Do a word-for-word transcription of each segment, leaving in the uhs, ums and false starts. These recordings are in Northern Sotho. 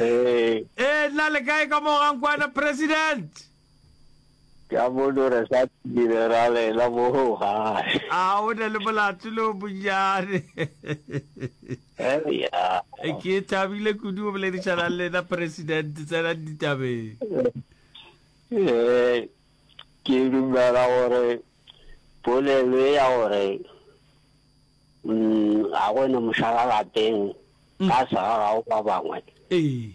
Ee. Ee, nna le kae ka mo Gankwana President? Ke a bona gore sa tlile ra lela mo gae. A o na le molato le o monnyane. Eya. Ke thabile kudu go boledišana le lena President, tsenang ditabeng. Ee, ke dumela gore polelo e ya gore mm, ga go ne mošala lapeng ka sa gago ba bangwe Ee.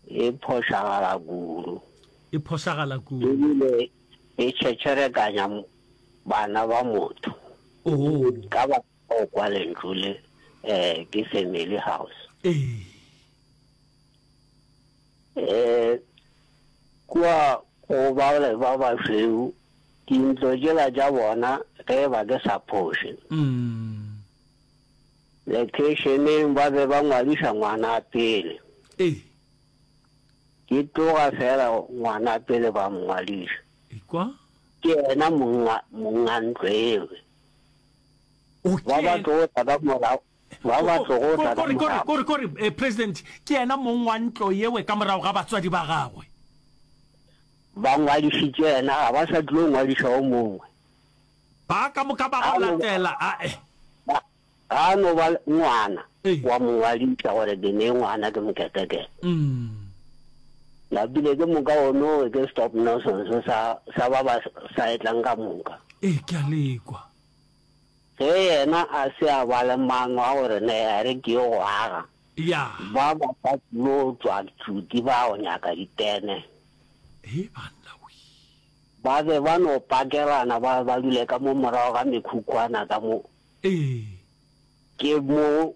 e phošagala kudu. E phošagala kudu. Ebile e tšhetšherekanya bana ba motho. Oh. Ka ba o kwa lentšu le eh ke family house. Ee. Eh kua go ba ba bašweu dintlo tšela tša bona ge ba ke sa phoše. Mm. Lekeišeneng ba be ba ngwadiša ngwana pele. Ee. Ke tloga fela ngwana pele ba mongwadiša. Ekwa? Ke yena monga monga ntlo eo. O Ba ba ke tlo tla ka morago ba ba tlogo tla ka kore kore morago. kore kore eh, President ke yena mong wa ntlo yewe ka morago ga batswadi ba gagwe. Ba ngwadišitše yena ga ba sa tlilo ngwadiša o mongwe. Ba ka moka ba Ga go no latela a eh. ba ga no ba ngwana Ee. wa mongwadiša gore ke ne ngwana ke moketekete. Mm. Napile ke moka ono ke stop nonsense sa sa ba ba sa etlang ka moka. Ee, ke a lekwa. Ge yena a se a ba le maano a gore ne a re ke yo go aga. Ya. Ba ba sa tlilo tšwa tšuti ba go nyaka ditene. He banna we. Ba be ba no pakelana ba ba dule ka mo morago ga mekhukhwana ka mo. Ee. Ke mo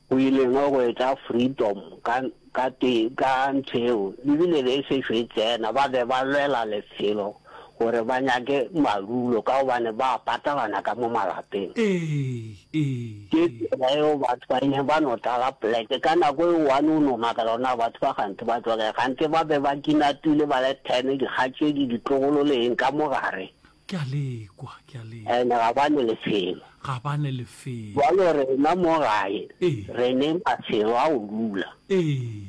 go ileng go etla freedom ka ka te ka ntho eo ebile be e sešo e tsena ba be ba lwela lefelo gore ba nyake madulo ka gobane ba patalana ka mo malapeng. Ee, ee, Ke ee. tsela eo batho ba ileng ba no tlala poleke ka nako e one o no makala gore na batho ba gante ba tšwa kae gante ba be ba kinapile ba le ten dikgatšedi ditlogolo le eng ka mo gare. Ke a lekwa, ke a lekwa. Ene ga ba ne lefelo. Ga ba ne lefelo. Jwalo rena mo gae Ee. re ne mafelo a go dula. Ee.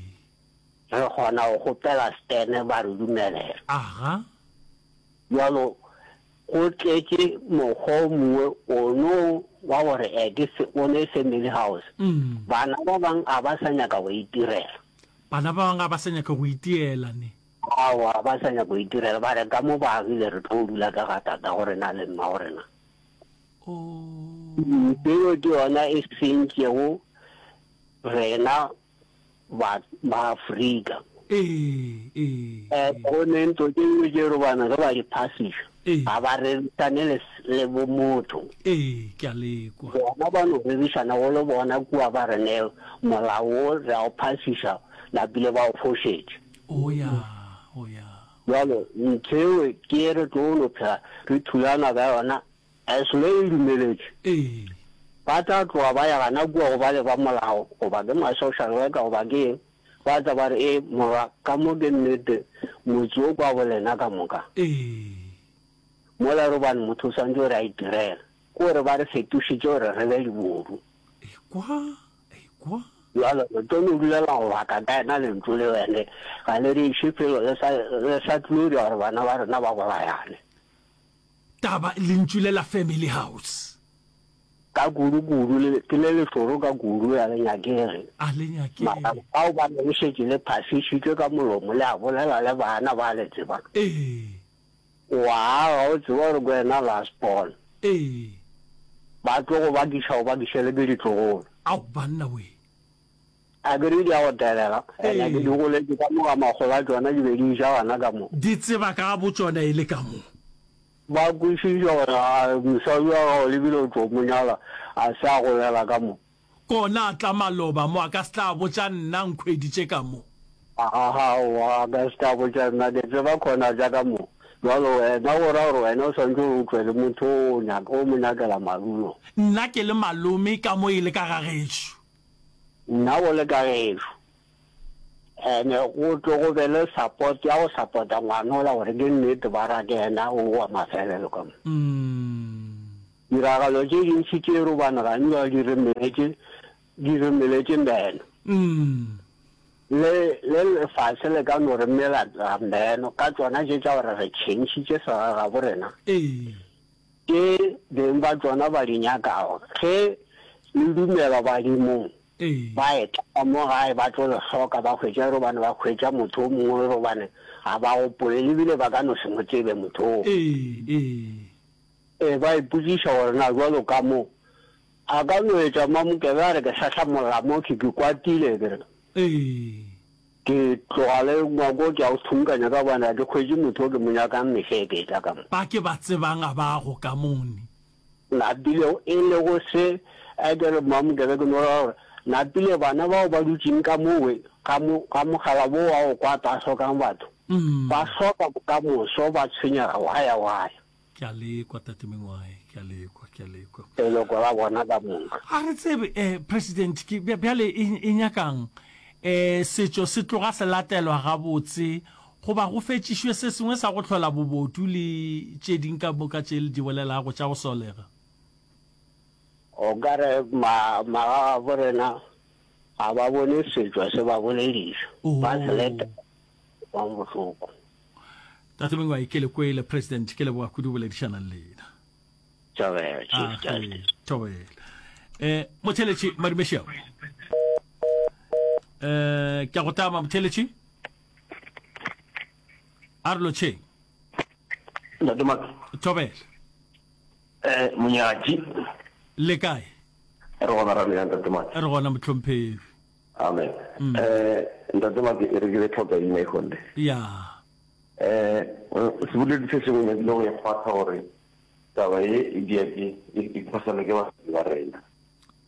Re kgona go kgopela stene ba re dumelela. Aga. Jwalo go tletše mokgwa o mongwe ono wa gore e ke se o ne family house. Mm. Bana ba bang a ba sa nyaka go itirela. Bana ba bang ga ba sa nyaka go itiela ne. Aowa ba sa nyaka go itirela ba re ka mo ba agile re tlo dula ka ga tata go rena le mma go rena. Oh. Ntho ke yona e sentšego rena ba ba Afrika. Ee, ee, Eh ee. go ne ntlo tše dingwe tše robana ge ba di phasiša Ee. ga ba rerišane le le bo motho. Ee, ke a lekwa. Bona ba no rerišana go le bona kua ba re ne molao wo re a o phasiša napile ba o fošetše. O ya, o ya. Jwalo ntho eo ke e re tlo no phela re thulana ka yona as le e dumeletše. Ee. Ba tla tloga ba ya gana kua go ba le ba molao goba ke ma social worker goba ke eng ba tla ba re e morwa ka mo ke nnete motse o kwa bolena ka moka. Ee. Mola robane motho o swantse gore a itirela ke gore ba re fetošitše gore re be dibodu. Ekwa, ekwa. Jwalo re tlo no dulela go baka ka yena lentšu le ene ga le re iše felo le sa le sa tlilo dira gore bana ba rena ba bolayane. Taba lentšu le la family house. Ka kudu kudu le ke le lešoro ka kudu ya le nyakege. A le nyakege. Mara bao ba le šetše le phasišitšwe ka molomo le a bolela le bana ba le tseba. Ee. Wa aga o tseba gore ke wena last born. Ee. Ba tlo go bakiša o bakiše le ke ditlogolo. Ao banna we. A ke re di a go telela ene ke di goletše ka mo ga makgolo a tšona di be di ja gana ka mo. Di tseba ka bo tšona e le ka mo. Ba kwešiša gore a mosadi wa gago lebile o tlo mo nyala a se a golela ka mo. Kona a tla maloba mo a ka se tla botša nna nkhweditše ka mo. Aowa a ka se tla botša nna ke tseba khona tša ka mo. Jwalo wena go ra gore wena o swantše o tšwe le motho o nyaka o mo nyakela madulo. Nna ke le malome ka mo e le ka ga gešo. Nna go le ka gešo. Ene go tlo go be le support ya go support-a ngwana ola gore ke nnete ba ra ke yena o wa mafelelo ka mo. Mm. Tiragalo tše dintši tše robana gantši di re meletše, di re meletše meno. Le, le lefase le ka no re mela meno ka tšona tše tša gore re tšhentšhitše segagabo rena. Ee. Tše beng ba tšona ba di nyakago. Ge le dumela badimong, Ee. ba etla ka mo gae ba tlo le hloka, ba hwetša robane ba hwetša motho o mongwe robane ga ba gopole, le bile ba ka no se mo tsebe motho oo. Ee, ee. Ee, ba ipotšiša gore na bjalo ka mo a ka no etša Mamokebe a re ke hlahlamolla mo ke ke kwatile ke re Ee. ke tloga le ngwako ke a o thunkanya ka gobane ga ke hwetše motho o ke mo nyakang mehla e ke etla ka mo. Ba ke ba tsebang a ba go ka mone. Napile e lego se a ke re Mamokebe ke no ra gore napile bana bao ba dutšeng ka mowe ga mo ga mogala bo wa go kwata a hlokang batho ba hloka bokamoso ba tshwenyega waya waya. Ke a le kwa, Tate Mengwae, ke a le kwa, ke a le kwa. Leloko la bona ka moka. Ga re tsebe, eh, President, ke, bjale e, e nyakang? Eh, setšo se tloga se latelwa gabotse, goba go fetšišwe se sengwe sa go hlola bobodu le tše ding ka moka tše le di bolelago tša go solega? O ka re ma, magagabo rena ga ba bone setšo se ba bolediša, ba se letela, kwang bohloko. Tate Mengwai, ke le kwele, President, ke leboga kudu boledišana le lena. Thobela, Chief Ah, Justice. Thobela. Eh, motheletši Madumešeo. Eh, ke a go tama motheletši. A re lotšheng. Ntate Maka. Thobela. Eh, monyatši. Le kae? Re gona ra lena Ntate Maka. Re gona mohlomphegi. Amen. Eh, Ntate Maka, e re ke le tlhoka ina e honde. Ya. Eh, seboledi se sengwe nyakile go e kgwatha gore taba ye e dia ke e e phoselwa ke batswadi ba rena.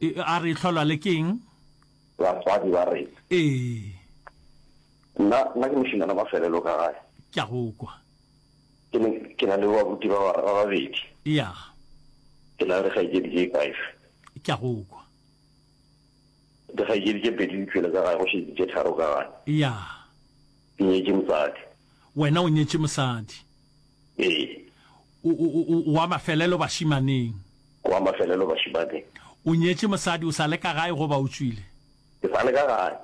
E, a re e hlolwa le keng? Batswadi ba rena. Ee. Nna nna ke mošemane wa mafelelo ka gae. Ke a go kwa. Ke ne ke na le babuti ba ba ba babedi. Ya. Ke na le dikgaetšedi tše five. Ke a go kwa. Dikgaetšedi tše pedi di tšwele ka gae, go šetše tše tharo ka gae. Ya. Ke nyetše mosadi. Wena o nyetše mosadi? Ee. O, o, o, o wa mafelelo bašimaneng? Wa mafelelo bašimaneng. O nyetše mosadi, o sa le ka gae goba o tšwile? Ke sa le ka gae.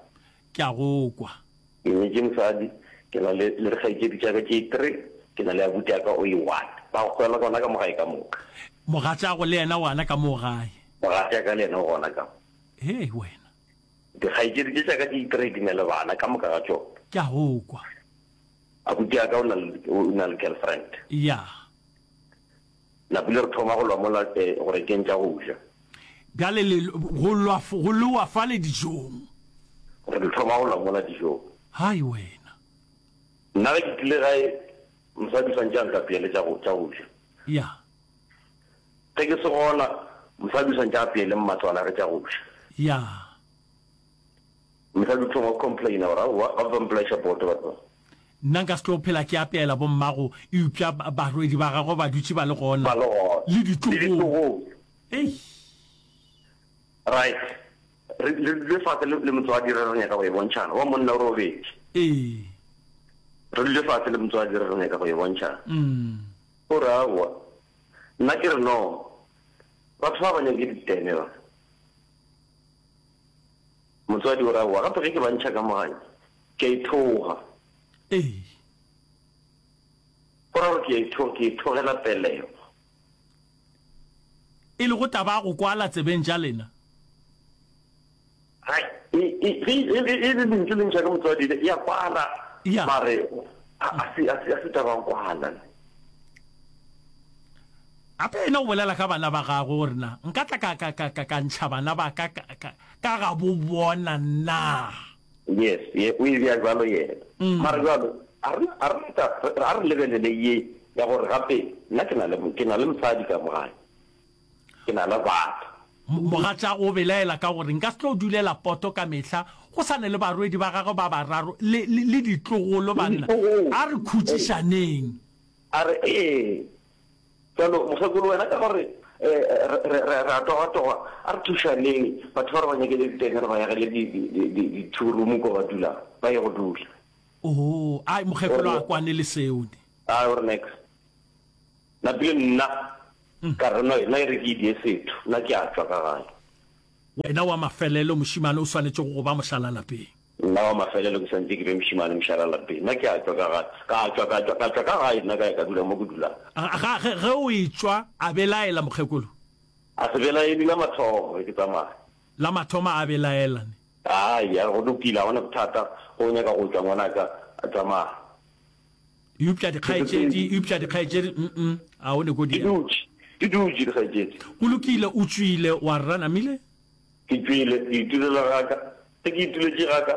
Ke a go kwa. Ke nyetše mosadi, ke na le, le dikgaetšedi tša ka tše three, ke na le abuti ya ka o e one. Ba go hwela gona ka mo gae ka moka. Mogatšago le yena o gona ka moo gae? Mogatšaka le yena o gona ka mo. Hei, wena. Dikgaetšedi tše tša ka tše three di na le bana ka moka ga tšona. Ke a go kwa. Abuti ya ka o na le, o na le girlfriend. Ya. Napile re thoma go lwa mola eh, go rekeng tša go ja. Bjale le, go lwa, go lewa fale dijong. Re thoma go lwa mola dijong. Hai wena. Nna ge ke tlile gae, mosadi o swantše a nkapeele tša go, tša go ja. Ya. Ge ke se gona, mosadi o swantše a apeele mmatswalagwe tša go ja. Ya. Mosadi o thoma go complaina gore aowa, ba ba mpolaiša poto batho ba. Nna nka se tlo phela ke apeela bommago, eupša barwedi ba gagwe ba dutše ba le gona. Ba le gona. Le ditlogolo. Le ditlogolo. Eish. Right. Re, re dule fase le, le motswadi re re nyaka go e bontšhana. Wa monna o robetše. Ee. Re dule fase le motswadi re re nyaka go e bontšhana. Mm. O re aowa. Nna ke re no. Batho ba ba nyake ditene ba. Motswadi o re aowa. Gape ge ke ba ntšha ka mo gae, ke a ithoga. Ee. Go ra gore ke a ithoga, ke ithogela pelego. E lego taba ya go kwala tsebeng tša lena. Hai, e, e, ge e, e, e le lentšu le ntšha ke motswadi, e a kwala. Ya. Mare a, a se, a se, a se taba ya go kwala. Gape yena o bolela ka bana ba gagwe gore na nka tla ka, ka, ka, ka, ka ntšha bana ba ka, ka, ka, ka ga bo bona na? Yes, ye, o e bea bjalo yena. Mara bjalo, a re, a re ta, a re lebelele ye ya gore gape nna ke na le, ke na le mosadi ka mo gae. Ke na le batho. Mogatšago o belaela ka gore nka se tlo dulela poto ka mehla, go sa ne le barwedi ba gagwe ba bararo le, le, le ditlogolo banna. A re khutšišaneng. A re, Ee. Bjalo, mokgekolo, wena ka gore re, re, re, re a togatoga, a re thušaneng, batho ba re ba nyakele ditene, re ba agele di, di, di, di, di two room ko ba dulang, ba ye go dula. Oo, ai, mokgekolo a kwane le seo ne. Ai, o re nex. Napile nna, Ka re, No, nna e re ke idie setho, nna ke a tšwa ka gae. Wena wa mafelelo, mošemane, o swanetšego go ba mošalalapeng. Nna wa mafelelo ke swanetše ke be mošemane mošalalapeng. Nna ke a tšwa ka gae. Ka tšwa, ka tšwa, ka tšwa ka gae nna ka ya ka dula mo ke dulang. Ga, ge, ge o etšwa, a belaela, mokgekolo? A se belaele la mathomo ge ke tsamaya. La mathomo a belaela, ne? Ai, a re, go lokile, ga go na bothata, ge o nyaka go tšwa, ngwanaka, tsamaya. Eupša dikgaetšedi, eupša dikgaetšedi, mm-mm, a o ne ko di. Di dutše, di dutše dikgaetšedi. Go lokile, o tšwile, wa rra namile? Ke tšwile, ke itulela ga ka. Ge ke ituletše ga ka,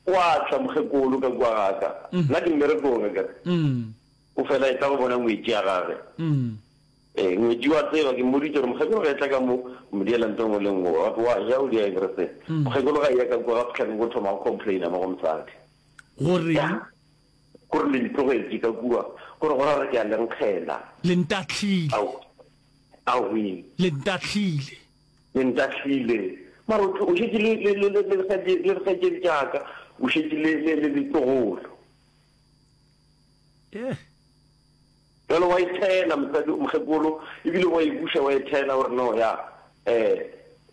gwa tla mokgekolo ka kua ga ka. Nna ke mmerekong, akere. O fela etla go bona ngwetši ya gage. Ee, ngwetši wa tseba, ke mmoditše gore mokgekolo ge etla ka mo, o mo diela ntho e nngwe le e nngwe. Gape wa ja, o dia everything. Mokgekolo ga eya ka kua, ga fihla ka kua o thoma go complaina mo go mosadi. Goreng? Kore le ntlogetše ka kua, kore go ra gore ke a le nkgela. Le ntahlile. Ao, aowi. Le ntahlile. Le ntahlile. Mara o, o šetše le, le, le, le, le le dikgaetšedi tša ka, o šetše le, le, le ditlogolo. Eh. Bjale wa e thela, mosadi, mokgekolo, ebile wa e buša wa e thela, o re, No, ya, eh,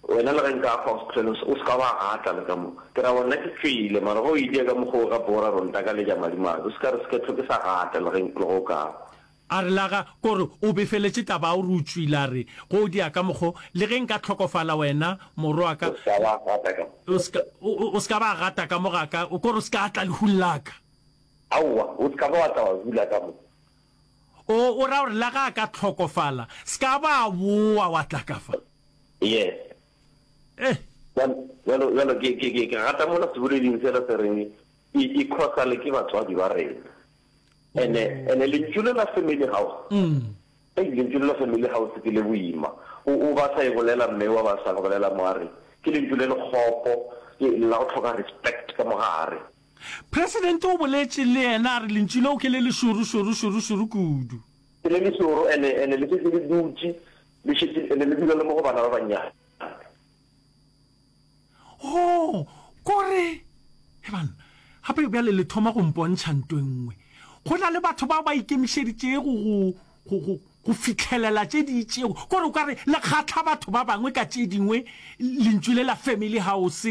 wena le ge nka hwa, o se hlwele, o se ka wa gata le ka mo. Ke ra gore nna ke tšwele, mara ge o e dia ka mokgwa wo gape o ra gore o ntakaletša madimabe, o se ka re se ke hlwe ke sa gata le ge, le ge o ka hwa. A re, La ga, kore o befeletše taba ya gore o tšwile, a re, Ge o dia ka mokgwa wo, le ge nka hlokofala wena, morwa wa ka, O se ka wa gata ka mo. O se ka, o, o, o se ka ba gata ka mo ga ka, kore o se ka tla lehung la ka. Aowa, o se ka ba wa tla wa dula ka mo. O, o ra gore la ga a ka hlokofala, se ka ba a boa wa tla ka fa? Yes. Eh. Bjalo, bjalo, bjalo ke, ke, ke, ke rata mola seboleding sela se reng, e, e khosale ke batswadi ba rena. Ene, ene lentšu le la family house, Mm. ei, lentšu le la family house ke le boima. O, o ba sa e bolela mme wa ba sa go bolela mo a re, ke lentšu le le kgopo, ke la go hloka respect ka mo gare. Presidente o boletše le yena a re lentšu leo ke le lešoro šoro šoro šoro kudu. Ke le lešoro ene ene le šetše le dutše le šetše ene le dula le mo go bana ba bannyane. Oh, kore, he banna, gape bjale le thoma go mpontšha nto e nngwe. Go na le batho bao ba ikemišeditšego go, go, go, go fihlelela tše di itšego. Kore o ka re le kgahla batho ba bangwe ka tše dingwe, lentšu le la family house,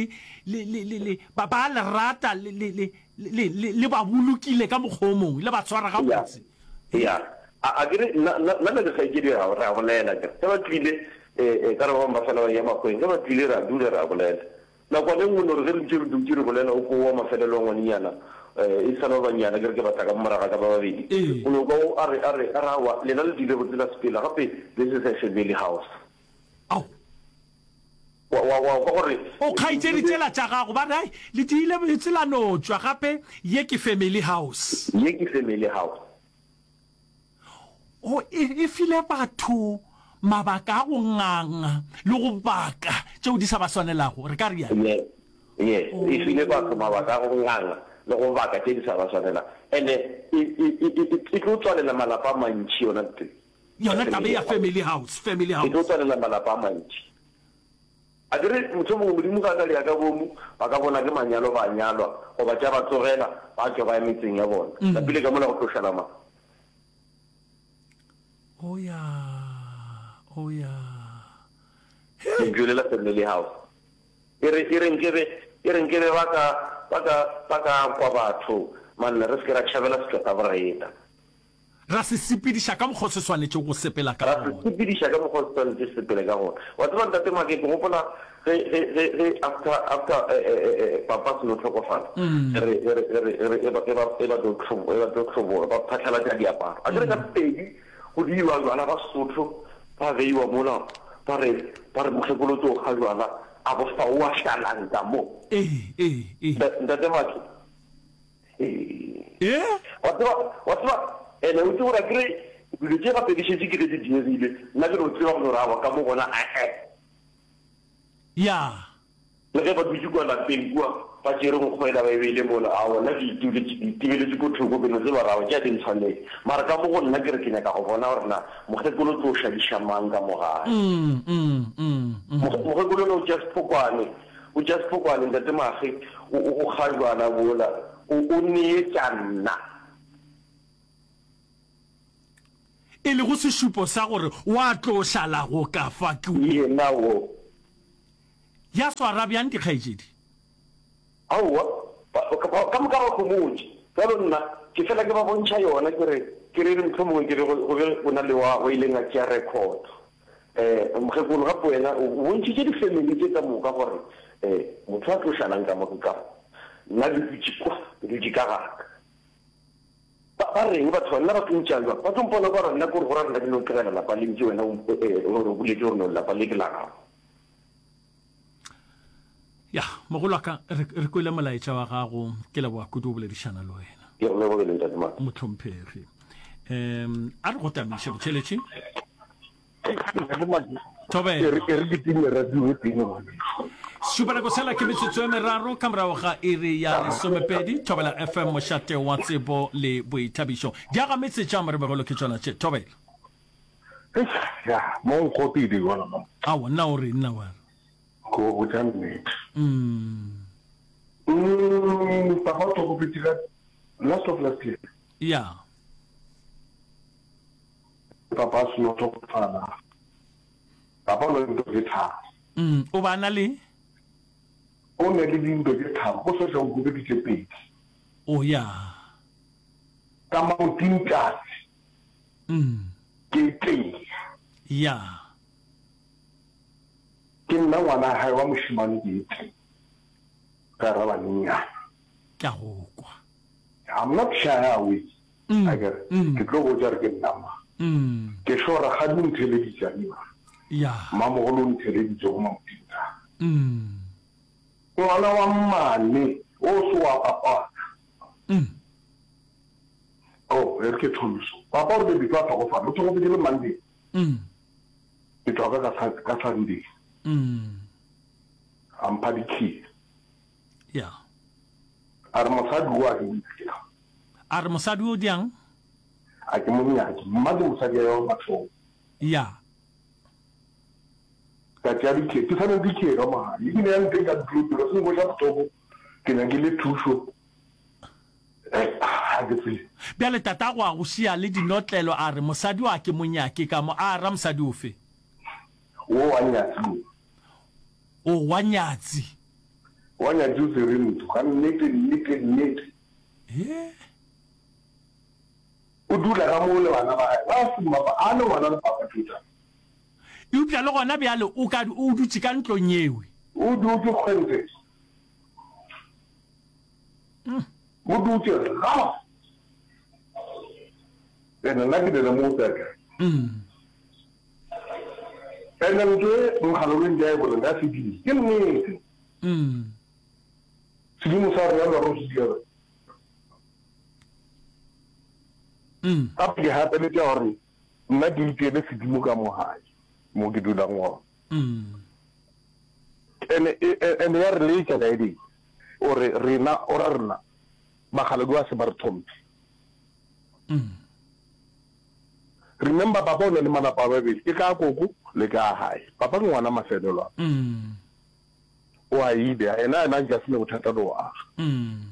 le, le, le, le, ba, ba a le rata, le, le, le, le, le, le ba bolokile ka mokgwa o mongwe, le ba swara Ya, gabotse. ya. A, a ke re, nna, nna, nna le dikgaetšedi ra, re a bolela, akere. Ge ba tlile, eh, eh, ka re ba bangwe ba fela ba eya makgweng, ge ba tlile ra dula re a bolela. Nakwana e nngwe no re ge re ntše re dutše re bolela, o ko wa mafelelo a ngwanenyana, e sa le ba bannyane, ke re ke ba tla ka mo morago ga ka ba babedi, Ee. o no kwa o a re, a re, a re aowa, lena le diile botse la sepela, gape this is a family house. Ao. Wa, wa, wa kwa gore. O kgaetšedi tšela tša gago, ba re, ai, le diile botse la no tšwa, gape ye ke family house. Ye ke family house. Go e, e file batho mabaka a go nganga le go baka tšeo di sa ba swanelago, re ka realo? Yes, yes, e file batho mabaka a go nganga le go baka tše di sa ba swanelago. And-e e, e, e, e, e tlo tswalela malapa a mantši yona ntho e. Yona taba e ya family house, family E tlo house. tswalela malapa a mantši. A ke re, mohlomongwe Modimo ge a ka dira ka boomo, ba ka bona ke manyalo ba nyalwa, goba tša ba tlogela, ba tšwa ba ya metseng ya bona. Lapile ka mola go tlo šala mang? Oh ya, oh ya. Lentšu le la family house. E re, e re nkebe, e re nkebe ba ka, ba ka, ba ka kwa batho, man, re se ke ra tšhabela setšo sa borena. Ra se sepediša ka mokgwa o se swanetšego go sepela ka Ra se gona. sepediša ka mokgwa o se swanetše se sepele ka gona. Wa tseba, Ntate Make, ke gopola ge, ge, ge, ge after, after eh, eh, eh, eh, papa a seno hlokofala, ge re, ge re, ge re, ge re, e ba, e ba, e ba tlo hlobo, e ba tlo hlobola, ba phatlalatša diaparo. A ke re ka pedi go diiwa jwala ba Sesotho, ba beiwa mola, ba re, ba re mokgekolo o tlo kga jwala, a bo fa o a šalang ka mo. Ee, ee, ee. Ntate Make, Ee. Wa tseba, wa tseba, ene o tsebe gore akere dilo tše gape di šetše ke ge di diegile, nna ke no tseba gore aowa ka mo gona ae. Ya. Le ge ba dutše kua lapeng kua, ba tšere nkgo yela ba e beile mola, aowa nna ke ituletše, ke itebeletše ko thoko, ke no tseba gore aowa tše a di ntshwanele. Mara ka mo go nna ke re ke nyaka go bona gore na mokgekolo o tlo šadiša mang ka mo gae. Mm, mm, mm, mm. Mokgekolo yena o tšea sephokwane, O tšea sephokwane, Ntate Mage, o, o, o kga jwala bola, o, o neetša nna. E lego sešupo sa gore wa tlo šalago ka fa ke. Yena wo. Ya swara bjang dikgaetšedi? Aowa, ba, ba, ka moka ba homotše. Bjalo nna, ke fela ke ba bontšha yona, ke re, ke re, mohlomongwe ke re go, go be go na le wa, wa ileng a tšea record. Eh, mokgekolo, gape wena o, o bontšhitše difemeli tše ka moka gore, eh, motho a tlo šalang ka mo ke ka mo. Nna ke dutše kwa, ke dutše ka ga ka. Ba, ba reng batho ba? Nna ba tlo ntšea bjang? Ba tlo mpona o ka re nna ke gore go ra nna ke no tlogela lapa le ntše wena o, eh, o re boletše gore no lapa le ke la gago. Ya, mogolo wa ka, re, re kwele molaetša wa gago. Ke leboga kudu go boledišana le wena. Ke go lebogile, Ntate Maka. Mohlomphegi. Um, a re go tamiše botšheletše. Thobela. E re, e re ke time radio e tee ngwanešu. Šupanako sela ke metsotso e meraro ka morago ga iri ya lesomepedi. Thobela F M, mošate wa tsebo le boithabišo. Diagametse tša moremegolo ke tšona tše. Thobela. Eish, ya, mo nkgopile yona mo. Aowa, nna o re, nna wa re. Ko botša nnete. Mm. Mm, papa o hlokofetše ka last of last year. Ya. Papa a seno hlokofala. Papa o na le dintho tše tharo. Mm, o ba na le? O ne le dintho tše tharo, go sehla o hwile ke tše pedi. O ya. Ka maoting tlase. Mm. Ke tee. Ya. Ke nna ngwana hae wa mošemane ke tee. Ka ra banyenyane. Ke a go kwa. I'm not shy away. Mm. Akere Mm. ke tlo botša re ke nna mang. Mm. Ke sure rakgadi o ntheleditše a dira. Ya. Mmamogolo o ntheleditše go Mamodimo. Mm. Ngwana wa mmane o se wa papa. Mm. Oh, e re ke thome so. Papa o rile before a hlokofala, o hlokofetše le Monday. Mm. Ke tšwa ka ka ka Sunday. Mm. A mpha di-key. Ya. A re mosadi o a ke mo nyake. A re mosadi o diang? A ke mo nyake. Mma ke mosadi ya wa mathomo. Ya. Ka tšea di-key. Ke sa na le di-key ka mo gae. Ebile ya nteng ka ntlo se nkweša bohloko. Ke nyakile thušo. Eh, ga ke tsebe. Bjale tatago a go šia le dinotlelo a re mosadi wa ke mo nyake ka mo a ra mosadi ofe? O wa nyatsi o. O wa nyatsi. Wa nyatsi o tsere ntho. Ga nnete, nnete, nnete. He. O dula ka mo le bana ba hae. Ba se mmapa, a le ngwana le papa tšotša. Eupša le gona bjale o ka o dutše ka ntlong yewe. O dutše kgwente. Mm. O dutše ga. Ene nna ke dira mo tsaka. Mm. Ene ntho e mogala o ntse a e bolela ya sedimo. Ke nnete. Mm. Sedimo sa rena re se dira. Mm. Gape ke gapeletša gore nna ke itiele sedimo ka mo gae mo ke dulang gona. Mm. Ene ene ya re letša ka eding. O re rena o ra rena bakgaladi ba se ba re tlhomphe. Mm. Remember papa o ne le malapa a babedi ke ka koko le ka hae. Papa ke ngwana mafelelo a. Mm. O a ile ena ena nka sene bothata le go aga. Mm.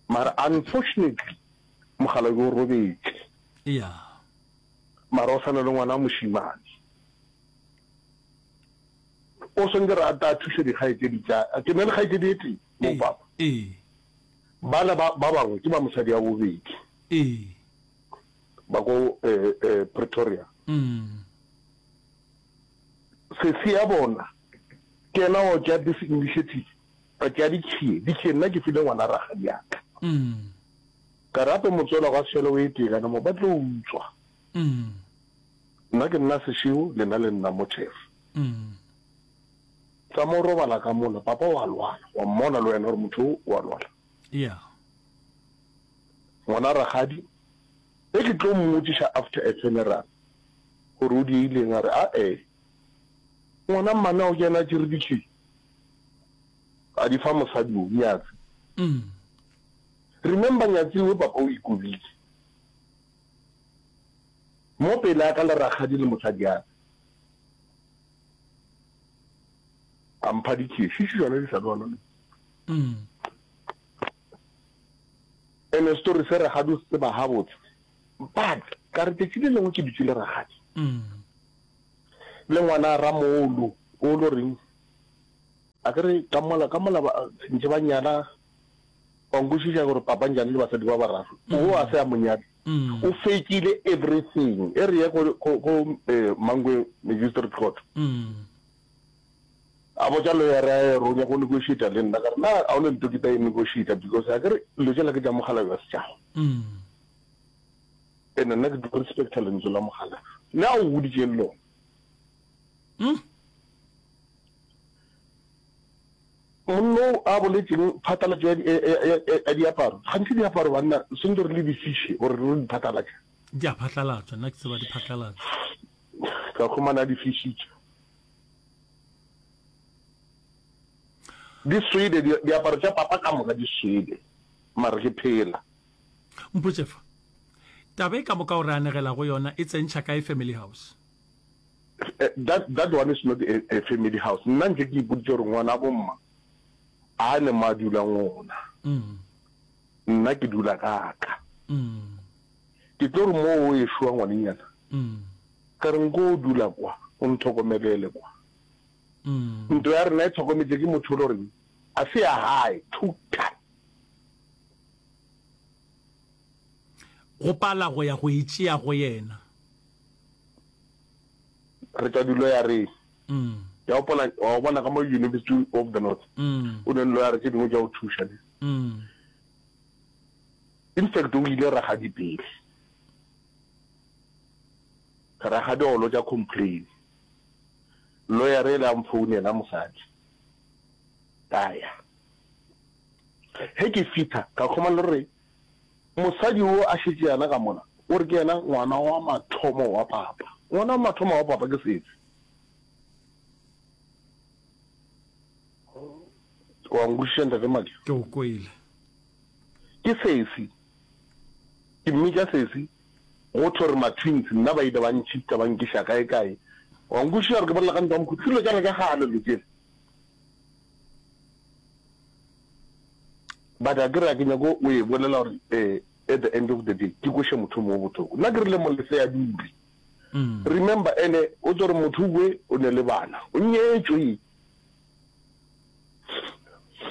Mara unfortunately mogala o robetše. Ya. Mara o sana le ngwana wa mošemane. O swantse re a ta thuša dikgaetšedi tša ke na le kgaetšedi e tee mo Ee. papa. Ee. Bana ba ba bangwe ke ba mosadi ya bobedi. Ee. Ba ko eh, eh, Pretoria. Mm. Sesi ya bona ke yena o tšea this initiative a tšea di-key di-key nna ke file ngwana rakgadi ya ka. Mm. Ka re gape motswala gwa sešele o e tee kana mo ba tlo utswa. Mm. Nna ke nna sešego lena le nna mothefo. Mm. Tsa mo robala ka mola papa wa lwala wa mmona le wena gore motho o wa lwala. Ya. Ngwana rakgadi e ke tlo mmotšiša after a funeral gore o diileng a re a e ngwana mmane o kena tšere di-key a di fa mosadi o Nyatsi. Mm. Remember Nyatsi o papa o ikobile mo pele a ka le rakgadi le mosadi a a mpha di-key šiši tšona di sa le gona. Mm. Ene story se rakgadi o se tseba gabotse but Ka re tšatši le lengwe ke dutše le rakgadi le ngwana Ramolo, o lo reng, a ke re ka mola, ka mola ba, ntše ba nyala, wa nkwešiša gore papa njane le basadi ba bararo, o a se a mo nyale, o fekile everything. E re ye go, go, go eh, Mangwe Magistrate Court. A botša lawyer a ye re o nyaka go negotiate le nna, ka re na ga o ne nto ke tla e negotiate because a ke re dilo tšela ke tša mokgalabje wa setšhaba. Ene nna ke tlo respecta lentswe la mokgalabje le a o boditšeng lona. Monna o a boletšeng phatlalatšo ya, ya, ya, ya, ya diaparo, gantši diaparo banna swantse re le di fiše gore re di phatlalatše. Di a phatlalatšwa, nna ke tseba di phatlalatšwa. Ka khumana a di fišitše. Di swele, diaparo tša papa ka moka di swele, mara ke phela. Mpotše fa, taba e ka moka o re anegelago yona e tsentšha kae family house? That, that one is not a, a family house. Nna ntše ke ipoditše gore ngwana bomma a ne mo a dulang gona. Nna ke dula ka ka. Ke tlo re mo o ešwa ngwanenyana, ka re nko o dula kwa, o nthokomelele kwa. Ntlo ya rena e thokometše ke motho o le goreng a se ya gae, thutha. Go pala go ya go e tšea go yena. Re tšwa diloyareng. Ke a gopola, wa bona ka mo University of the North, o ne le loyara tše dingwe tša go thuša ne. In fact, o ile rakgadi pele. Rakgadi o lotša complain. Lawyer ele a mfounela mosadi. Ka ya. Ge ke fihla, ka khumana le gore mosadi wo a šetše yana ka mola, o re ke yena ngwana wa mathomo wa papa. Ngwana wa mathomo wa papa ke sefe? Wa nkwešiša Ntate Madi? Ke go kwele. Ke sesi. Ke mmitša sesi. Go thwe re ma-twins, nna ba ile ba ntšhifta ba nkiša kae-kae. Wa nkwešiša gore ke bolela ka ntwa ya mokhukhu? Ke dilo tša ka tša kgale dilo tšela. But a ke re a ke nyake o e bolela gore eh, at the end of the day ke kweše motho mongwe bohloko. Nna ke rile molese a dule. Remember ene o tlo re motho we o ne le bana, o nyetšwe.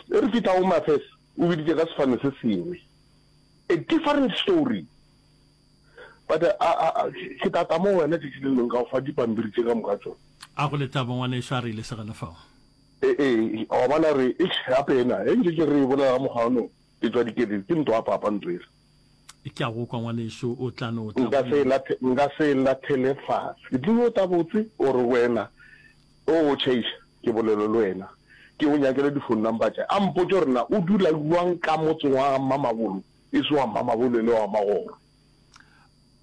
E re fihla Home Affairs o biditše ka sefane se sengwe. A different story. But a, a, a, ke tla tla mo wena tšatši le lengwe ka go fa dipampiri tše ka moka tšona. A go lethabo ngwanešu, a re ile segela fao. Ee, ee, wa bona re, eish, gape ena, ge ntše ke re e bolela ka mokgwa ono, ke tšwa dikeledi, ke ntwa ya papa ntlo ela. Ke a go kwa ngwanešu, o tla no tla Nka go se e nna. lathe, nka se e lathele fase. Ke tlilo tla botse, o re wena, o go tšhaiša, ke bolele le wena, ke go nyakele di-phone number tša, a mpotše gore na o dula bjang ka motseng wa ga Mmamabolo, e se wa Mmamabolo e le wa Magoro.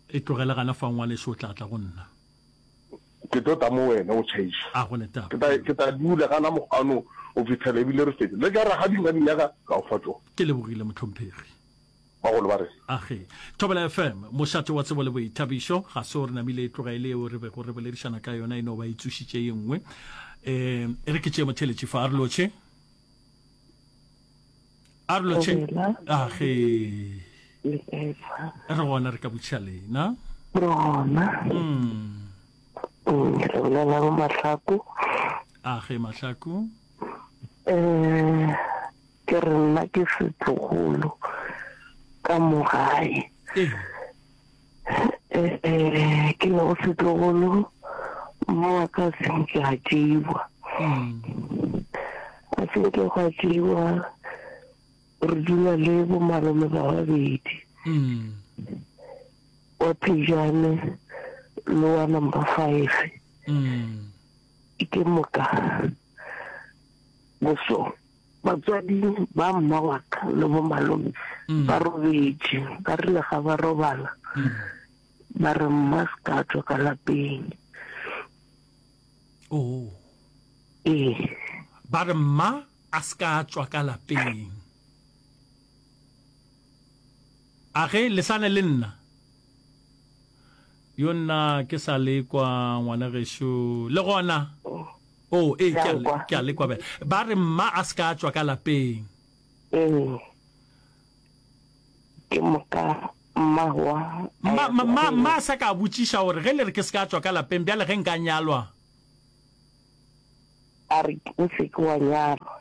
E tlogele gana fao ngwanešu, o tla tla go nna. Ke tlo tla mo wena o tšhaiša. A go ne taba. Ke tla, ke tla dula gana mokgwa go fihlela ebile re fetša. Le tša rakgadi nka di nyaka, ka go fa tšona. Ke lebogile, mohlomphegi. Bagolo ba re. Age. Thobela F M, mošate wa tsebo le boithabišo. Ga se o re namile e tloga e le yeo re bego re boledišana ka yona, e no ba e tsošitše ye nngwe. Um, e re ke tšee motheeletši fa, a re lotšhe. A re lotšhe. Thobela. Age. Le kae fa? Re gona, re ka botšiša lena. Re gona. Mm. Mm, re bolela go Mahlaku. Age, Mahlaku. Eh, ke re nna ke setlogolo ka mo gae. Ee. Eh, ke lego setlogolo, mma wa ka a se nke a tšeiwa. A se nke gwa tšeiwa, re dula le bo malome ba babedi. Wa Phejane le wa number five. Ke moka boso batswadi ba mma wa ka le bo malome ba robetše, ba rile ga ba robala ba re mma se ka tšwa ka lapeng. Oh. Ee. Ba re mma a se ka tšwa ka lapeng. A ge le sa ne le nna? Yo nna ke sa le kwa ngwana gešo. Le gona? Oh, ee, ke a le, ke a le kwa bjale. Ba re mma a se ka tšwa ka lapeng. Ee. Ke moka Mmagwa a Mma, ya mma, mma sekgweng. a sa ka a botšiša gore ge le re ke se ka tšwa ka lapeng, bjale ge nka nyalwa? A re, O se ke wa nyalwa.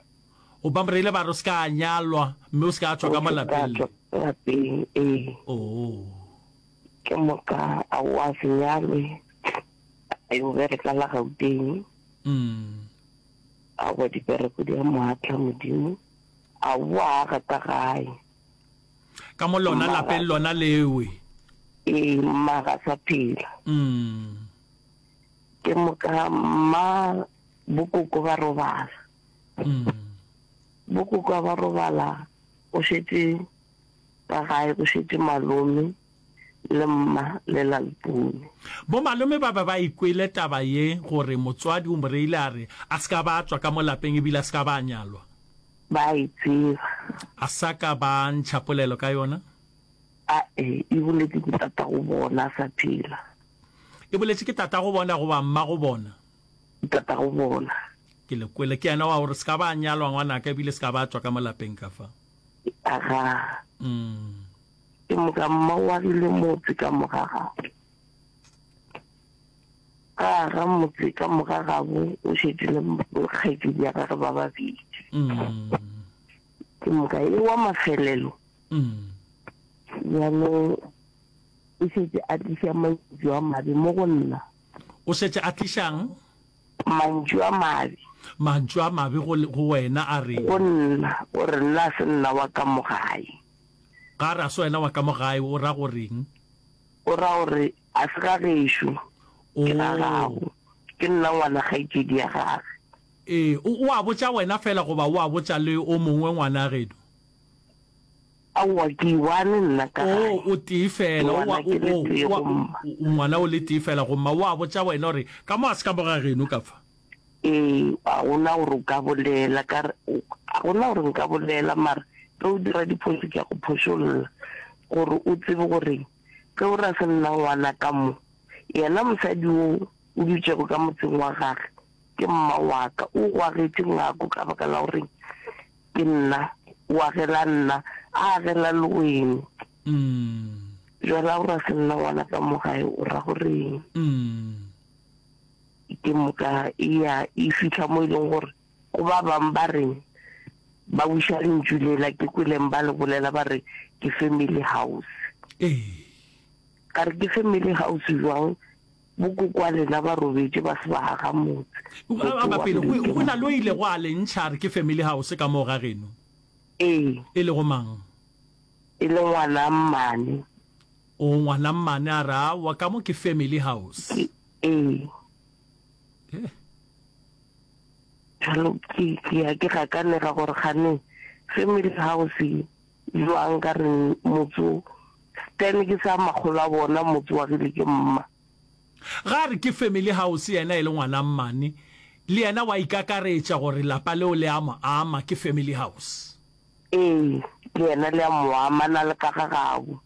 O ba reile ba re o se ka nyalwa, mme o se ka tšwa O ka mo se ka lapeng tšwa le. ka lapeng, ee. Oo. Ke moka a o a se nyalwe, a yo bereka la Gauteng. Mm. Aowa dipereko di a mo atla Modimo, a boa a aga ka gae. Ka mo lona Mma lapeng ga. lona lewe. Ee, mma ga sa phela. Mm. Ke moka mma bokoko ba robala. Mm. Bokoko ba robala go šetše ka gae go šetše malome le mma le Lalpune. Bomalome ba be ba ikwele taba ye gore motswadi o mo reile a re a se ka ba a tšwa ka mo lapeng ebile a se ka ba a nyalwa. Ba e tseba. A sa ka ba ntšha polelo ka yona? A-e, e boletše ke tatago bona a sa phela. E boletše ke tatago bona goba mmago bona? Tatago bona. Ke le kwele. Ke yena wa gore se ka ba a nyalwa ngwanaka ebile se ka ba a tšwa ka mo lapeng ka fa. Agaa. Mm. Ke moka mma o agile motse ka moga gabo. Ga a aga motse ka moga gabo o šetše le kgaetšedi ya gage ba babedi. Mm. Ke moka e wa mafelelo. Mm. Bjalo o šetše a tliša mantšu a mabe mo go nna. O šetše a tlišang? Mantšu a mabe. Mantšu a mabe go, go wena a reng? Go nna, gore nna a se nna wa ka mo gae. Ga a re a se wena wa ka mo gae, o ra go reng? O ra gore a se ga gešo, ke ga Oh. gago. Ke nna ngwana kgaetšedi ya gage. Ee, o, o a botša wena fela goba o a botša le o mongwe ngwana geno? Aowa, ke i-one nna ka gae. Oh, o tee fela. O Ngwana a, ke le o, tee o, go mma. o, ngwana o le tee fela go mma. O a botša wena gore ka mo a se ka mo ga geno ka fa. Ee, ga go na gore o ka bolela, ka re, ga go na gore nka bolela, mara ge o dira diphošo ke a go phošolla, gore o tsebe gore ge o ra se nna ngwana ka mo, yena mosadi wo o dutšego ka motseng wa gage ke mma wa ka, o go agetše ngako ka baka la gore ke nna, o agela nna, a agela le wene. Bjale ga o ra se nna ngwana ka mo gae, o ra goreng? Ke moka e ya e fihla mo e leng gore go ba bang ba reng ba wiša lentšu lela ke kweleng ba le bolela ba re ke family house. Ee. Ka re ke family house jwang bokoko wa lena ba robetše ba se ba aga motse. A, Motse ba wa pele go, agilwe ke go na mang? le o ilego a le ntšha a re ke family house ka moo ga geno? Ee. E lego mang? E le ngwana mmane. O ngwana mmane a re aowa ka mo ke family house. Ke, ee. Eh. Bjalo ke, ke ya ke gakanega gore kgane family house jwang ka re motse o Stan ke sa makgolo a bona motse wa agile ke mma. Ga a re ke family house yena e le ngwana mmane le yena wa ikakaretša gore lapa leo le a mo ama ke family house. Ee, le yena le a mo ama na le ka ga gabo.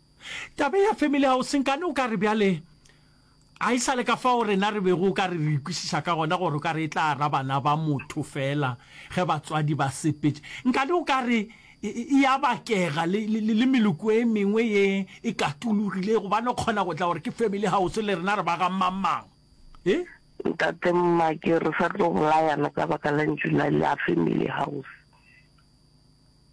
Taba ya family house nkane o ka re bjale a e sa le ka fao rena re bego o ka re re ikwešiša ka gona gore o ka re e tla ra bana ba motho fela ge batswadi ba sepetše. Nkane o ka re e, e, e a bakega le, le, le meloko e mengwe ye e katologile gobane o kgona go tla gore ke family house le rena re ba ga mang-mang. E? Ntate Mmake, re sa tlo bolayana ka baka la ntšu la, la family house.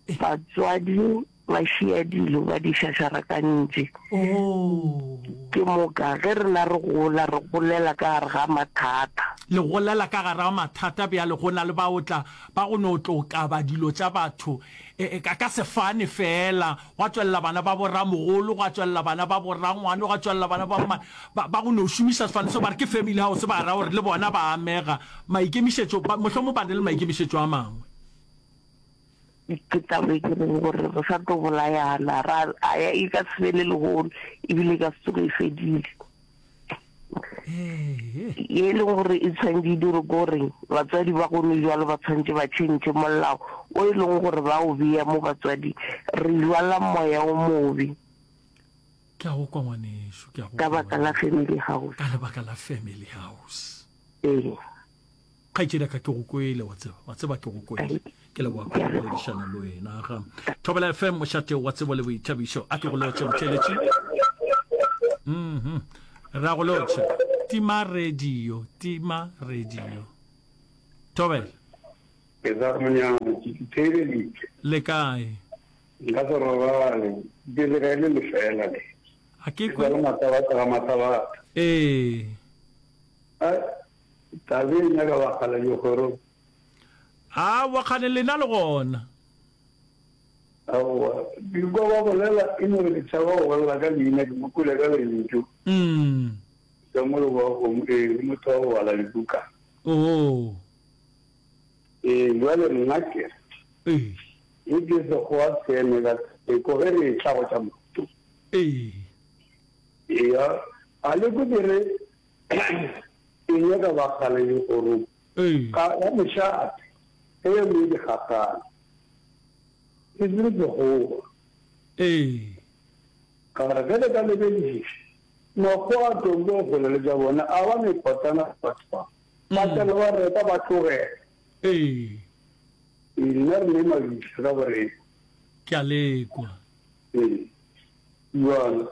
Batswadi ba šia dilo ba di šašarakantše. Oh. Ke moka ge rena re gola, re golela ka gare ga mathata. Le golela ka gare ga mathata bjale, go na le ba o tla ba go no tlo kaba dilo tša batho e, e, ka, ka sefane feela, gwa tšwelela bana ba boramogolo, gwa tšwelela bana ba borangwane, gwa tšwelela bana ba mmane, ba, ba go no šomiša sefane seo ba re ke family house, ba ra gore le bona ba amega. Maikemišetšo, ba, mohlomong ba na le maikemišetšo a mangwe. Ke taba e ke reng gore re sa tlo bolayana, ra a ya e ka se fele lehono, ebile e ka se tsoge e fedile. Ye e leng gore e tshwanetse e dirwe ke gore batswadi ba gone jwalo ba tshwanetse ba tšhentšhe molao o e leng gore ba o bea mo batswading. Re jwala moya o mobe. Ke a go kwa ngwanešu, ke a go Ka kwa baka la ngwanešu. family house. Ka lebaka la family house. Ee. Kgaetšedi ya ka, ke go kwele, wa tseba, wa tseba ke go kwele. Ke leboga kudu go boledišana le wena. Ga Thobela F M, mošate wa tsebo le boithabišo. A ke go lotšhe, motheeletši. Mhm. Re a go lotšha. Tima radio, tima radio. Thobela. Ke sa re monyane, ke ke theeleditše. Le kae? Nka se robale, ke le ge le lefela le. A ke kwe. Ke sa le matlabatla ga matlabatla. Ee. A tabe e nyaka bakgala dikgorong. Aowa, kgane lena le gona. Aowa, ke kwa ba bolela e no re ke tšhaba go bolela ka leina, ke mo kwele ka lentšu. Mm. Ka mo leboga kgomo, ee, ke motho wa go bala dibuka. Oo. Ee, bjale nna ke re. Ee. E ke Sekgowa se eme ka theko ge re etla go tša mohuto. Ee. Eya, a le kwe ke re e nyaka bakgale dikgorong. Ee. Ga ga mošate, ge ye nngwe di gagana. E se Sekgowa. Ee. Ka re ge le ka lebedišiša, Makgowa a Tombo kgole le tša bona, a ba mekotana batho ba. Ba tsena ba reka ba tlogela. Ee. Ee, nna re ne mabitla ka borena. Ke a lekwa. Ee. Bjalo,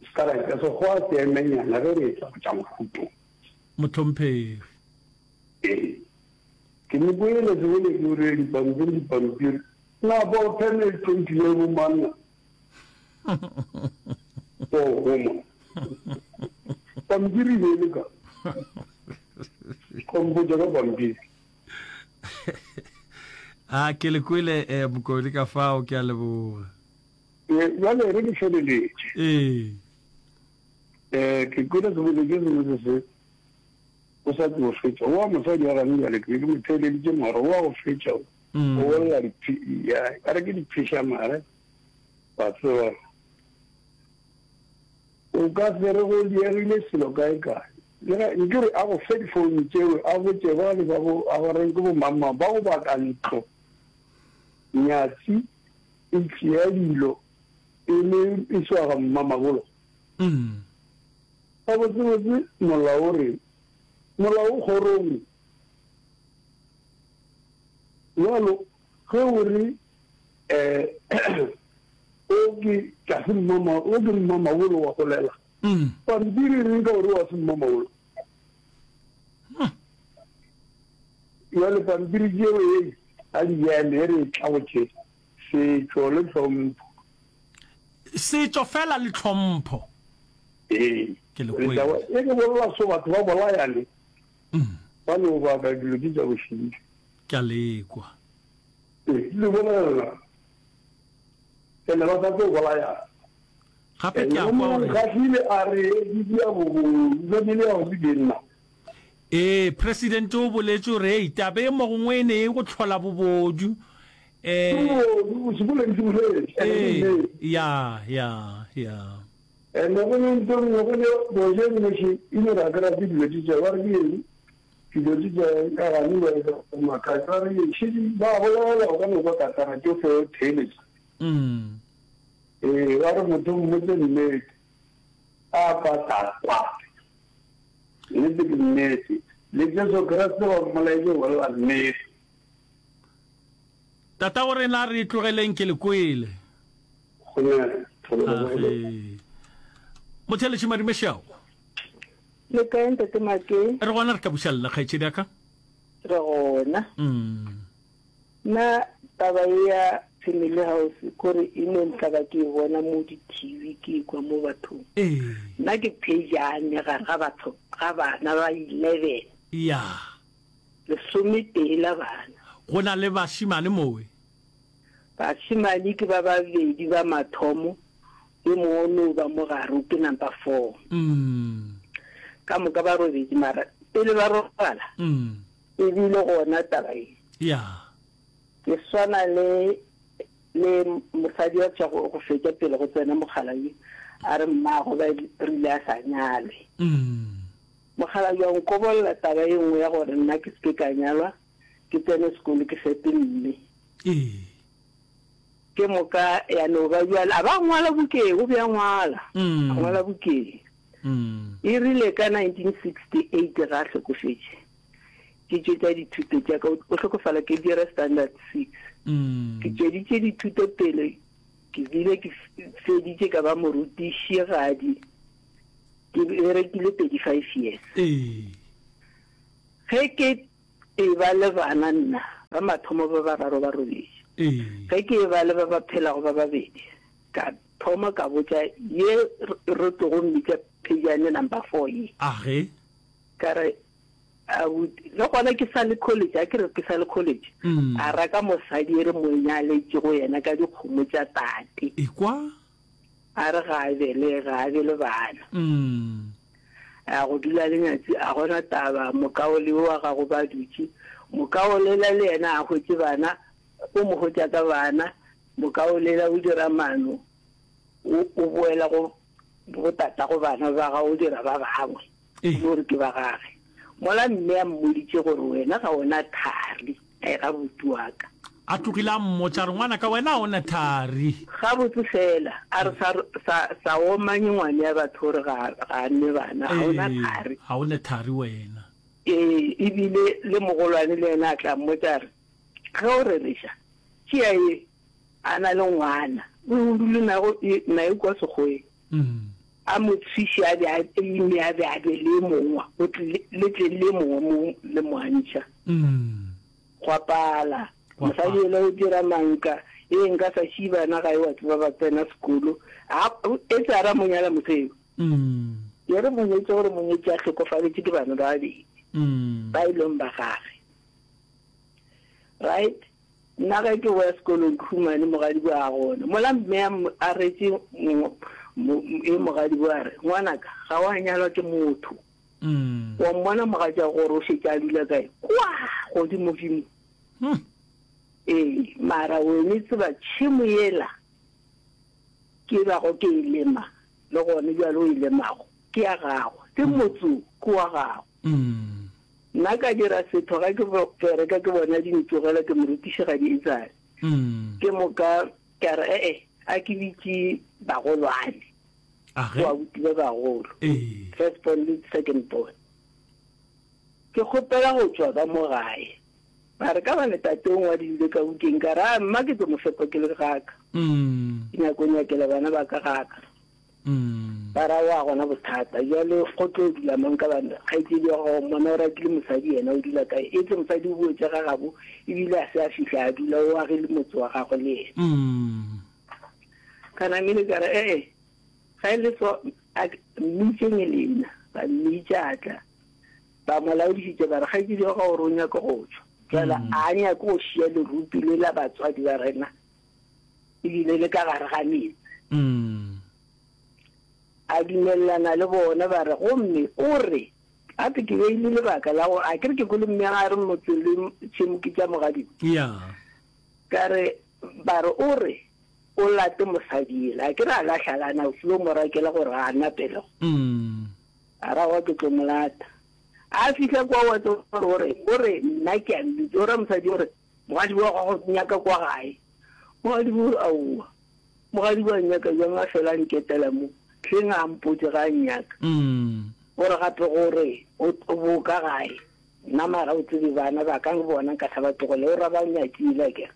se ka ra tša Sekgowa se emenyana ge re etla go tša mohuto. Mohlomphegi. Ee. Ke mo kwele sebele ke o re dipampiri dipampiri. Na bo pheme twenty le bo manna. Bo goma. Pampiri be le ka. Kompotša ka pampiri. A ke le kwele eh, Mokone ka fao, ke a leboga. Eh, bjale re ke feleletše. Ee. Eh, ke kwele sebele ke sengwe se se o sa tlo fetša. Wa mosadi wa gane bjale ke be ke mo theeleditše mara wa go fetša o. Mm. O bolela diphi, ya, ka re ke diphiša mare. Wa tseba. O ka se re go diegile selo kae kae. Le ge nke re a go fe difounu tšeo, a botše bale ba bo, a ba reng ke bo mang mang, ba go baka ntlo. Nyatsi e tšea dilo e le e swa ga mmamabolo. Mm. Gabotsebotse molao o reng? Molao o kgorong. Bjalo ge o re eh o ke tlase mmama, o ke mmamabolo wa golela. Mm. Pampiri e reng ka gore wa se mmamabolo? Bjale pampiri tšeo e a di eme e re e tla go tše setšo le tlhompho. Setšo fela le tlhompho. Ee. Ke le Re tla kwele. e ke bolela so batho ba bolayane. Mm. Ba no baka dilo tše tša bošidi. Ke a lekwa. Ee, le bolela. Ene ba sa tlo bolayana. Gape ke a kwa gore. Nkgahlile a re di dia bobodu, family ya go ke nna. Ee, president o boletše gore hei taba e mo gongwe e ne e go hlola bobodu. Eh, Bobodu, o se boledi se boletše, ene ke ee, nnete. ya, ya, ya. Ene go ne ntho nngwe, go ne boje nngwe še, e no re a ke rate dilo tše tša, ba re ke eng? Dilo tše tša ka gane ba e makatša, ba re ke eng? Šetše ba bolela, o ka no kwa katara tšohle o theeletša. Mm. Ee, ba re motho mmotse nnete, a pata kwate. Nnete ke nnete. Le Jesu Kriste ba mmolaetše go bolela nnete. Tatago rena re tlogeleng ke le kwele. Gone, thobela go le. Age. Motheeletši Madumešao. Le kae ntate Make? Re gona re ka buša lla kgaetšedi ya ka. Re gona. Mm. Nna taba ye ya family house kore e no ntla ke e bona mo di T V ke e kwa mo bathong. Ee. Nna ke phejane gare ga batho ga bana ba eleven. Ya. Lesometee la bana. Go na le bašemane mowe? Bašemane ke ba babedi ba mathomo, yo mongwe o no ba mo gare, ke number four. Mm. Ka moka ba robedi, mara pele ba robala, Mm. e bile gona taba e. Ya. Ke swana le, le mosadi wa tšwa go, go fetša pele go tsena mokgalabje, a re mmago ba rile a sa nyalwe. Mm. Mokgalabje wa nkobolla taba e nngwe ya gore nna ke seke ka nyalwa, ke tsene sekolo ke fepe mme. Ee. Ke moka ya no ba bjale, a ba ngwala bukeng, o be a ngwala. Mm. A ngwala bukeng. Mm. E rile ka nineteen sixty-eight ga a hlokofetše. Ke tšwetša dithuto tša ka, o hlokofala ke dira standard six. Ke tšweditše dithuto pele, ke bile ke feditše ka ba morutišigadi, ke berekile thirty five years. Ge ke eba le bana nna, ba mathomo ba bararo ba robetše. Ge ke eba le ba ba phelago ba babedi, ka thoma ka botša ye re tlogo mmitša Phejane number four ye. Age. Ka re, Abuti, le gona ke sa le college, a ke re ke sa le college, a raka mosadi e re mo nyaletšego yena ka dikgomo tša tate. Ekwa. A re ga a belege, ga a be le bana. A ya go dula le nyatsi, a gona taba, mokaole yo wa gago ba dutše. Mokaolela le yena a hwetše bana, o mo hwetša ka bana, mokaolela o dira mano, o, o boela go bo tatago bana ba gago, o dira ba bangwe, o no re ke ba gage. Mola mme a mmoditše gore wena ga o na thari, a e ga buti wa ka. A tlogile a mmotša a re, Ngwanaka, wena ga o na thari. Gabotse fela, a re, sa, sa, sa omanye ngwane ya batho gore ga, ga a nwe bana, ga o na thari. Ga o na thari wena. Ee, e bile le mogolwane le yena a tla mmotša a re, Ge o rereša, tšea ye, a na le ngwana, o o dule nago, naye kua sekgoweng. A mo tswiše a be a ime a be a be le e mongwe, go tle, le tle le e mongwe mo le mo antšha. Gwa pala. Mosadi yola o dira manka, ee nka sa šie bana gae wa tseba ba tsena sekolo. A, etse a ra mo nyala moseo. Ye re mo nyetše gore monyetši a hlokofaletše ke bana ba babedi ba e leng ba gage. Right? Nna ge ke boya sekolong ke humane mogadibo a gona. Mola mme a, a retše e mogadibo a re, Ngwanaka, ga wa nyalwa ke motho. Wa mmona mogatšago gore o šetše a dula kae? Kwa godimodimo. Ee, mara wene tseba tšhemo yela ke bago ke e lema, le gone bjale o e lemago, ke ya gago, le motse wo ke wa gago. Nna ka dira setho ge ke bereka ke bona di ntsogela ke morutišigadi e tsale. Ke moka ka re ee a ke bitše bagolwane, boabuti ba bagolo, first born le second born. Ke kgopela go tšwa ka mo gae. Ba re ka bane tate o ngwadile ka bukeng ka re a mma ke tlo mo fepa ke le gaka. Ke nyako nyakela bana ba ka gaka. Ba ra wa gona bothata bjale go tlo dula mang ka bana kgaetšedi wa gago mmona o rakile mosadi yena o dula kae etse mosadi o boetše ga gabo ebile a se a fihla a dula o agile motse wa gagwe le yena. Ka namile ka re ee ga e le so a mmitšeng lena ba mmitša a tla ba mo laodišitše ba re kgaetšedi wa gago o re o nyaka go tšwa jwale a nyake go šia lerupi le la batswadi ba rena ebile le ka gare ga metse. A dumelelana le bona, ba re, Gomme o re, gape ke beile lebaka la gore, a ke re ke kwele mme a re motse le tšhemo ke tša mogadimo? Ka re, Ba re, o re, o late mosadi yela. A ke re a la hlalana, o filo mo rakela gore ga a na pelego. A ra, Aowa, ke tlo mo lata. A fihla kua wa tseba gore o re, o re, nna ke a mmitša. O ra mosadi o re, Mogadibo wa gago nyaka kwa gae. Mogadibo o re, Aowa. Mogadibo a nnyaka bjang a fela a nketela mo? Hleng a mpotše ga a nnyaka. O re gape gore o boka gae. Nna mara o tsebe bana ba ka bona nka sa ba tlogele. O ra ba nyakile akere.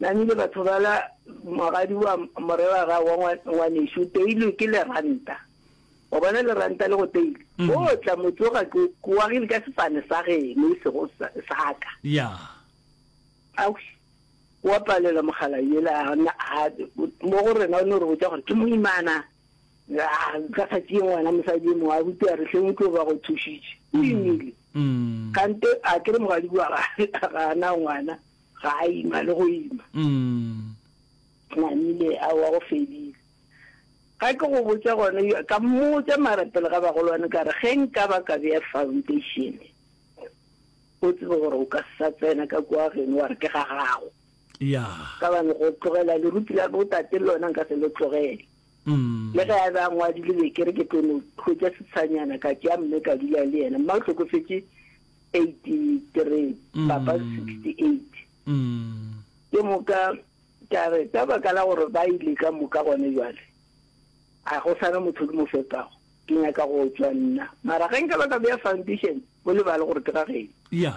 Namile batho bala mogadibo a mo reba ra wa ngwanešu o teilwe ke leranta. Wa bona leranta le go teile? O tla mo tsoga ke o agile ka sefane sa geno e sego sa ka. Ausi, o a palelwa mogala yela a na a mo go rena o no re botša gore ke moimana a ka sa tšee ngwana mosadi e mongwe abuti a re hleng o tlo ba go thušitše o imile kante a ke re mogadibo ga ga a na ngwana ga a ima le go ima namile aowa go fedile ga ke go botša gone ka mmotša mara pele ga bagolwane ka re ge nka ba ka bea foundation O tsebe gore o ka se sa tsena ka kua geno wa re ke ga gago. Ya. Ka bane go tlogela lerupi la botate le lona nka se le tlogele. Le ge a be a ngwadile be ke re ke tlo no hwetša setshanyana ka tšea mme ka dula le yena. Mma o hlokofetše eighty three, papa sixty eight. Ke moka ka re ka baka la gore ba ile ka moka gone bjale, a go sa na motho ke mo fepago, ke nyaka go tšwa nna. Mara ge nka ba ka bea foundation, O lebale gore ke ga geno. Ya.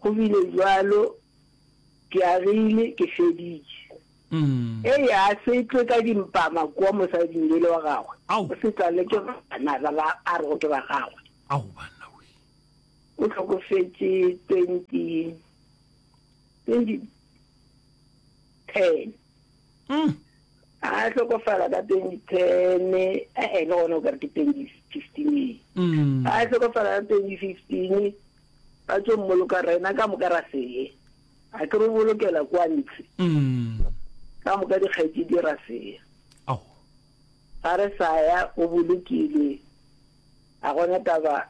Go bile bjalo, ke agile, ke feditše. Eya, a se tlwe ka dimpama kua mosading yele wa gagwe. Ao. O se tlale ke bana ba ba a rego ke ba gagwe. Ao, banna we. O hlokofetše twenty, twenty ten. Mm. A hlokofala ka twenty ten, e-e, le gona o ka re ke twenty fifteen. Mm. A hlokofala ka twenty fifteen, ba tšo mmoloka rena ka moka ra se ye. A ke re o bolokela kwa ntshe. Mm. Ka moka dikgaetšedi ra se ye. Ao. Ga re sa ya, o bolokilwe. A gona taba,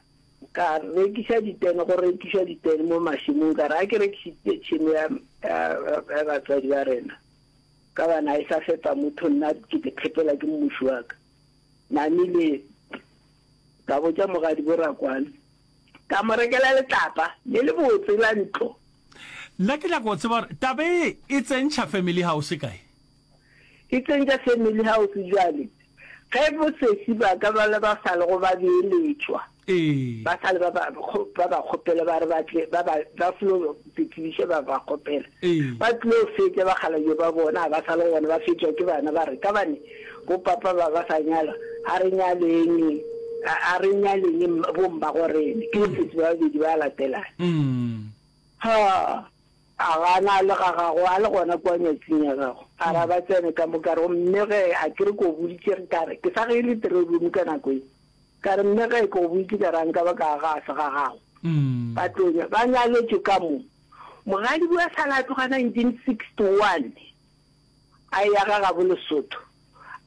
ka rekiša ditene, go rekišwa ditene mo mašemong, ka re a ke rekišitše tšhemo ya, ya, ya batswadi ba rena, ka bana a e sa fepa motho, nna ke te phepela ke mmuši wa ka. Namile, ka botša mogadi bo Rakwane, ka mo rekela letlapa le lebotse la ntlo. Nna ke nyaka go tseba gore taba ye e tsentšha family house kae? E tsentša family house bjale ge bosesi ba ka ba le ba sa lego ba beeletšwa, Ee. ba sa le ba ba ba ba kgopela ba re ba tle ba ba ba flo tsebiša ba ba kgopela. Ee. Ba tlo fetša bakgalabje ba bona ga ba sa le gona ba fetšwa ke bana ba re ka bane bo papa ba ba sa nyalwa a re nyaleng a re nyaleng bommagorene ke bosesi ba babedi ba latelana. Mm. Ha! A gana a le ga gagwe, a le gona kua nyatsing ya gagwe. A re a ba tsene ka mo, ka re, Mme ge, a ke re ke o boditše ge ka re, ke sa ge e le three room ka nako ye. Ka re, Mme ge, ke go boditše ka re a nka ba ka aga a se ga gago. Ba tlo nya, ba nyaletšwe ka mo. Mogadibo a sala a tloga nineteen sixty one, a eya ga gabo Lesotho.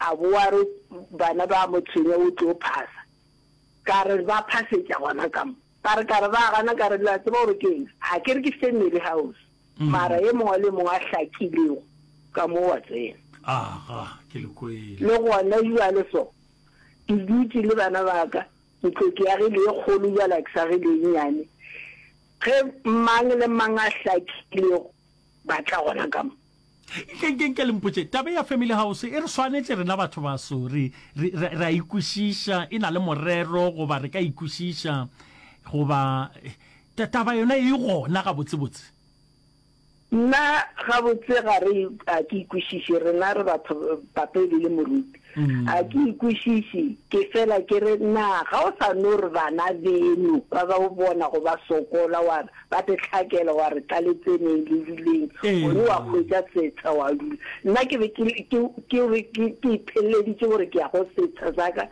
A boa a re bana ba mo tshwenya o tlo phasa. Ka re ba phasetša gona ka mo. Ka re, ka re ba gana, ka re, Le a tseba gore ke eng? Ga ke re ke family house, mara ye mongwe le mongwe a hlakilego ka mo wa tsena. Aga, ke le kwele. Le gona bjale so, ke dutše le bana ba ka, ntlo ke agile ye kgolo bjale ga ke sa agile ye nnyane. Ge mang le mang a hlakilego, ba tla gona ka mo. Nke, nke, nke le mpotše, taba ya family house e re swanetše rena batho baso, re, re, re, re a e kwešiša, e na le morero goba re ka e kwešiša, goba ta, taba yona e gona gabotsebotse? Nna gabotse ga re, ga ke e kwešiše, rena re batho, papa e be le moruti, ga ke e kwešiše, ke fela ke re, na ga o sa no re bana beno ba ba o bonago ba sokola, wa re, Ba te hlakela wa re tla le tseneng le duleng, gone wa hwetša setsha wa dula. Nna ke be ke, ke, ke be ke, ke ipheleditše gore ke ya go setsha sa ka,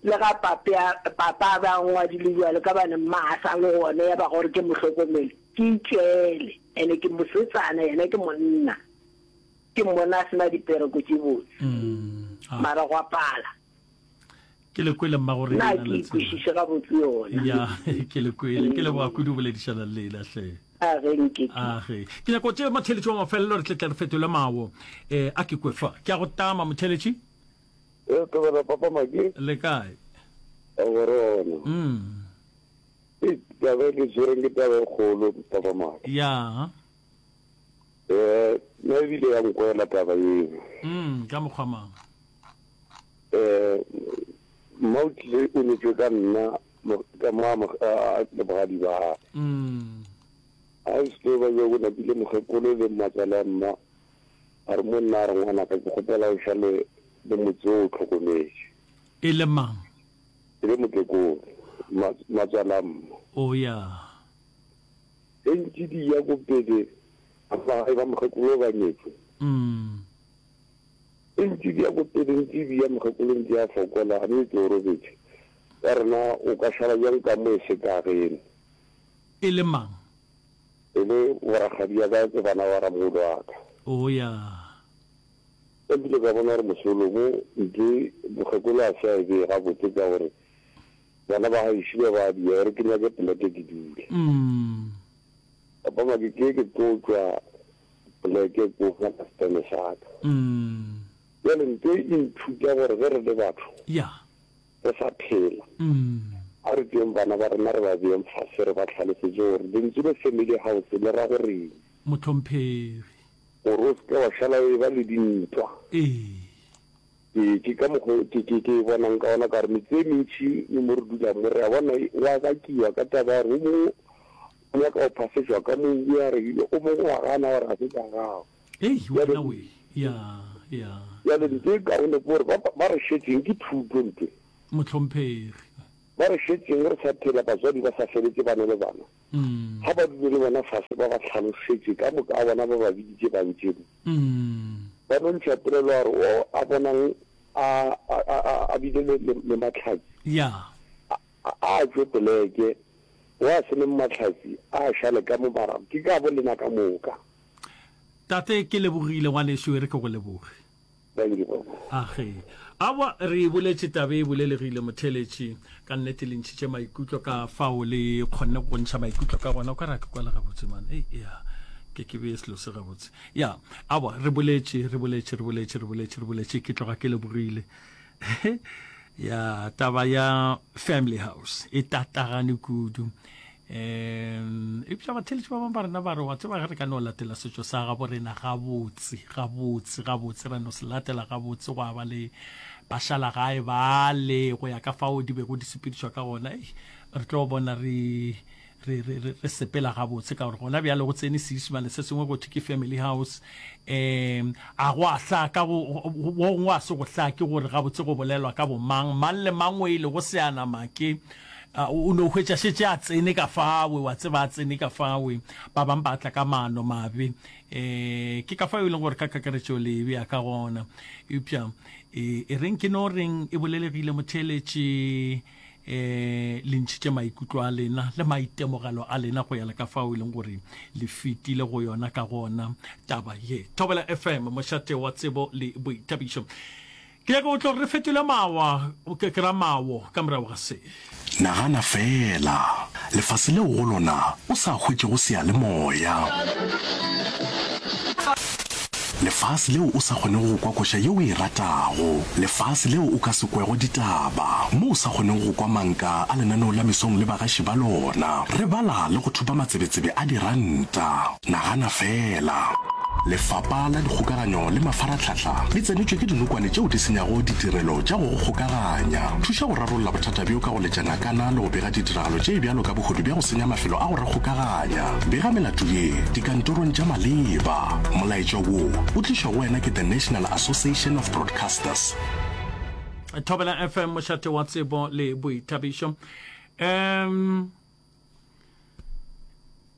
le ga pape a, papa a be a ngwadile bjalo, ka bane mma a sa le gona, ya ba gore ke mo hlokomele, ke itšwele. Ene ke mosetsana, yena ke monna. Ke mmona a se na dipereko tše botse, mara gwa pala. Ke le kwele mma gore Na ke ikwešiše gabotse yona. Ya, ke le kwele. Ke leboga kudu boledišana le lena hle. A ge nke ke. A ge. Ke nyaka go tšea motheeletši wa mafelelo re tle tle re fetole mawo. Eh, a ke kwe fa. Ke a go tama motheeletši. E tobela papa Maki. Le kae? A go rona. Mm. E taba e ke tshwereng ke taba e kgolo papa Maki. Ya. Eh, nna ebile ya nkwela taba eo. Mm, ka mokgwa mang? Eh, mma o tlile o nyetšwe ka nna ka mo le bogadi ba gagwe. Mm. A se tlo ba bjo napile mokgekolo le mmatswale a mma a re mo nna a re ngwanaka ke kgopela o šale le motse o o tlhokometše. E le mang? E le mokekolo, mmatswale a mma. O ya. Ge ntše di ya ko pele ba gae ba mokgekolo ba nyetšwe. Mm. E ntše di ya ko pele, ntše di ya mokgekolo ntše a fokola, a mme ke o robetše. Ka rena o ka šala bjang ka mo e se ka geno? E le mang? E le borakgadi ya ka ke bana ba ramogolo wa ka. O ya. Ka kile ka bona gore mosolo mo ntše mokgekolo a se a e bee gabotse ka gore bana ba gaešo ba ba dia gore ke nyake poleke ke dule. Mm. Papa Makeke ke tlo tšwa poleke ko nyaka setene sa ka. Mm. Bjale nto e nthuta gore ge re le batho Ya. re sa phela, Mm. a re tšeeng bana ba rena re ba beeng fase re ba hlalosetše gore lentswe le family house le ra goreng. Mohlomphegi. Gore o se ke wa šala o eba le dintwa. Ee. Ke, ke ka mokgo ke, ke, ke e bonang ka gona, ka gore metse e mentši le mo re dulang mo, re a bona go a bakiwa ka taba ya gore o mongwe o nyaka go phasetšwa ka mobu, ya re o mongwe wa gana gore ga se tša gago. Ei, Bjale, wena we, ya, ya. bjale ntho e kaone ke gore ba, ba re šetšeng ke thuto ntho e. Mohlomphegi. Ba re šetšeng re sa phela, batswadi ba sa feletše ba na le bana, ga ba dule le bona fase ba ba hlalošetše ka moka a bona ba ba biditše ba ntše mo. Ba no ntšha polelo ya gore o a bonang a, a, a, a bile le, le, le mahlatsi, Ya. a, a, a tšwe poleke, o a se neng mahlatsi a šale ka mo mara ke ka bo lena ka moka. Tate, ke lebogile ngwanešu, e re ke go leboge. Thank you, Papa. Age. Aowa, re e boletše taba e bolelegile, motheeletši. Ka nnete le ntšhitše maikutlo ka fao le kgonne go ntšha maikutlo ka gona. O ka re a ke kwala gabotse, man. Ei, ya. Ke ke beye selo se gabotse. Ya, aowa, re boletše, re boletše, re boletše, re boletše, re boletše. Ke tloga ke lebogile. Ya, taba ya family house e tatagane kudu. Um eupša batheeletši ba bangwe ba rena ba re, wa tseba ge re ka no latela setšo sa gabo rena gabotse, gabotse, gabotse, ra no se latela gabotse, gwa ba le bašalagae bale go ya ka fao di bego di sepedišwa ka gona, ei, re tlo bona re, re, re, re, re sepela gabotse, ka gore gona bjale go tsene Seisemane se sengwe go thwe ke family house. Um a go a hlaka, go, go gongwe a se go hlake gore gabotse go bolelwa ka bomang, mang le mang o e lego seanamake, o no hwetša šetše a tsene ka fawe, wa tseba a tsene ka fawe, ba bang ba tla ka maano mabe. Um ke ka fao e leng gore ka kakaretšo le e bea ka gona. Eupša e, e reng ke no reng e bolelegile motheeletši, um le ntšhitše maikutlo a lena le maitemogelo a lena go ya le ka fao e leng gore le fetile go yona ka gona taba ye. Thobela F M, mošate wa tsebo le boithabišo. Ke nyaka go tlo re fetole mawa, ke, ke ra mawo ka morago ga se. Nagana feela, lefase leo go lona o sa hwetšego seyalemoya. Lefase leo o sa kgonego go kwa koša ye o e ratago. Lefase leo o ka se kwego ditaba, mo o sa kgonego go kwa manka a lenaneo la mesong le bagaši ba lona. Re bala le go thopa matsebetsebe a diranta. Nagana feela. Lefapa la Dikgokaganyo le Mafarahlahla le tsenetšwe ke dinokwane tšeo di senyago ditirelo tša go go kgokaganya. Thuša go rarolla bothata bjo ka go letša nakana le go bega ditiragalo tše bjalo ka bohodu bja go senya mafelo a go re kgokaganya. Bega melato ye dikantorong tša maleba. Molaetša wo o tlišwa go wena ke The National Association of Broadcasters. Thobela F M, mošate wa tsebo le boithabišo. Um,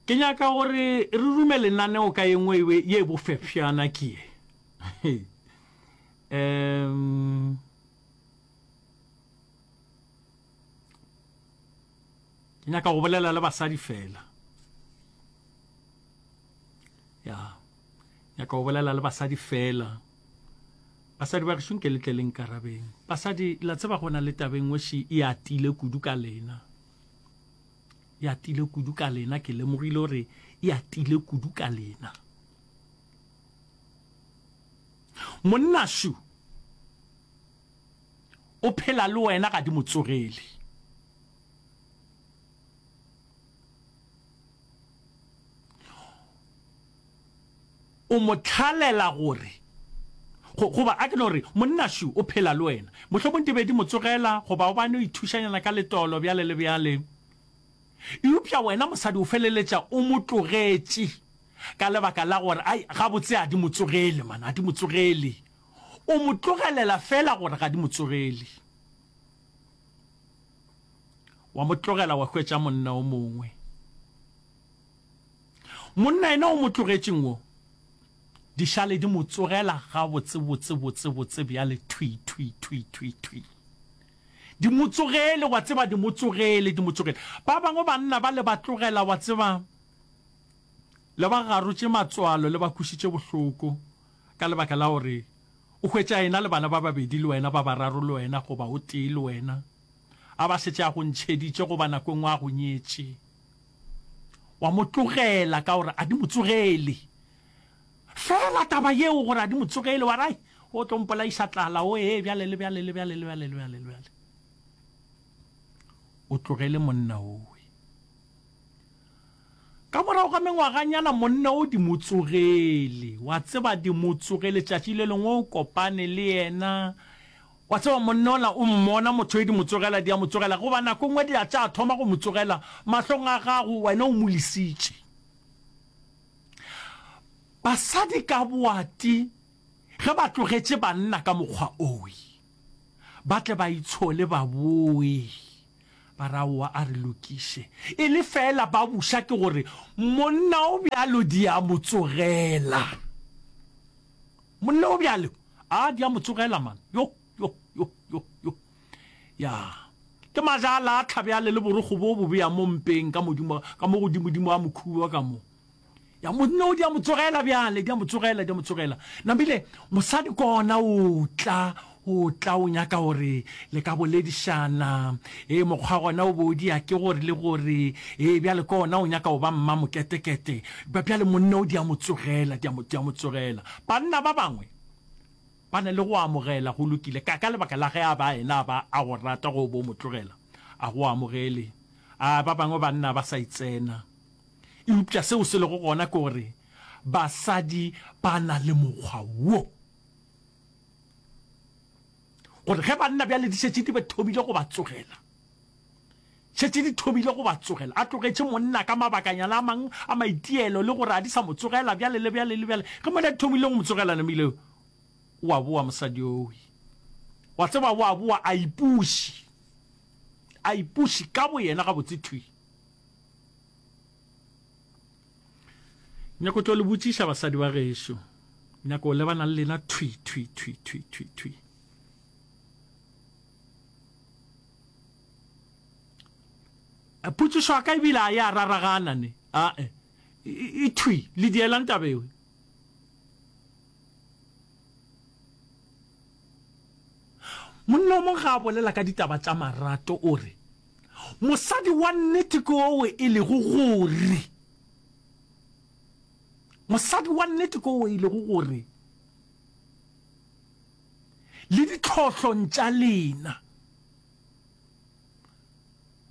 ke nyaka gore re rume lenaneo ka ye nngwe ye bofefšana ke ye. Um, ke nyaka go bolela le basadi fela. Ya, nyaka go bolela le basadi fela. Basadi ba gešo nke le tle le nkarabeng. Basadi, la tseba go na le taba e nngwe še e atile kudu ka lena. E atile kudu ka lena, ke lemogile gore e atile kudu ka lena. Monna šu o phela le wena ga di mo tsogele. O mo tlhalela gore, go, goba a ke no re, monna šu o phela le wena. Mohlomong di be di mo tsogela, goba o bane o ithušanyana ka letolo bjale le bjale. Eupša wena mosadi o feleletša o mo tlogetše ka lebaka la gore, ai, gabotse a di mo tsogele, man, a di mo tsogele. O mo tlogelela fela gore ga di mo tsogele. Wa mo tlogela wa hwetša monna o mongwe. Monna yena o mo tlogetšeng wo, di šale di mo tsogela gabotse, botse, botse, botse bjale, thwi, thwi, thwi, thwi, thwi. Di mo tsogele, wa tseba, di mo tsogele, di mo tsogele. Ba bangwe banna ba le ba tlogela, wa tseba, le ba garotše matswalo, le ba kwešitše bohloko, ka lebaka la gore o hwetša yena le bana ba babedi le wena, ba bararo le wena, goba o tee le wena, a ba šetše a go ntšheditše goba nako e nngwe a go nyetše. Wa mo tlogela ka gore a di mo tsogele. Fela taba yeo gore a di mo tsogele, wa re, ai, o tlo mpolaiša tlala, o ee, bjale le bjale le bjale le bjale le bjale le bjale. O tlogele monna owe. Ka morago ga mengwaganyana monna o di mo tsogele, wa tseba di mo tsogele, tšatši le lengwe o kopane le yena, Wa tseba, monna ola o mmona motho e di mo tsogela, di a mo tsogela, goba nako nngwe di a tša thoma go mo tsogela mahlong a gago, wena o mo lesitše. Basadi ka boati ge ba tlogetše banna ka mokgwa owe, ba tle ba itshole ba boe, ba re aowa a re lokiše. E le feela ba buša ke gore monna o bjalo di a mo tsogela. Monna o bjalo a di a mo tsogela man. Yo, yo, yo, yo, yo. Ya. Ke maja a latlha bjale le borokgo bo bo bea mo mpeng ka modimo, ka mo godimodimo a mokhuba ka mo. Ya monna o di a mo tsogela bjale, di a mo tsogela, di a mo tsogela. Nambile mosadi kona o tla, o tla o nyaka gore le ka boledišana. E mokgwa gona o bo dia ke gore le gore, e bjale kona o nyaka o ba mma moketekete. Bjale monna o di a mo tsogela, di a mo, di a mo tsogela. Banna ba bangwe ba na le go amogela go lokile ka ka lebaka la ge a ba ena a ba a go rata go bo mo tlogela, a go amogele. A ba bangwe banna ba sa itsena. Eupša seo se lego gona ke gore basadi ba na le mokgwa wo, gore ge banna bjale di šetše di be thomile go ba tsogela, šetše di thomile go ba tsogela, a tlogetše monna ka mabakanyana a mang a maitielo le gore a di sa mo tsogela bjale le bjale le bjale, ge monna di thomile go mo tsogela namile o a boa mosadi owe, wa tseba o a boa a ipuši, a ipuši ka boyena gabotse thwi. Nyako tlo le botšiša basadi ba gešo, nyako lebana le lena thwi thwi thwi thwi thwi thwi. Potšišo a ka ebile a ya raragana ne, a e, e thwi le dielang taba ewe. Monna o mongwe ga a bolela ka ditaba tša marato o re, mosadi wa nnete ke owe e lego gore, mosadi wa nnete ke owe e lego gore le ditlhohlong tša lena.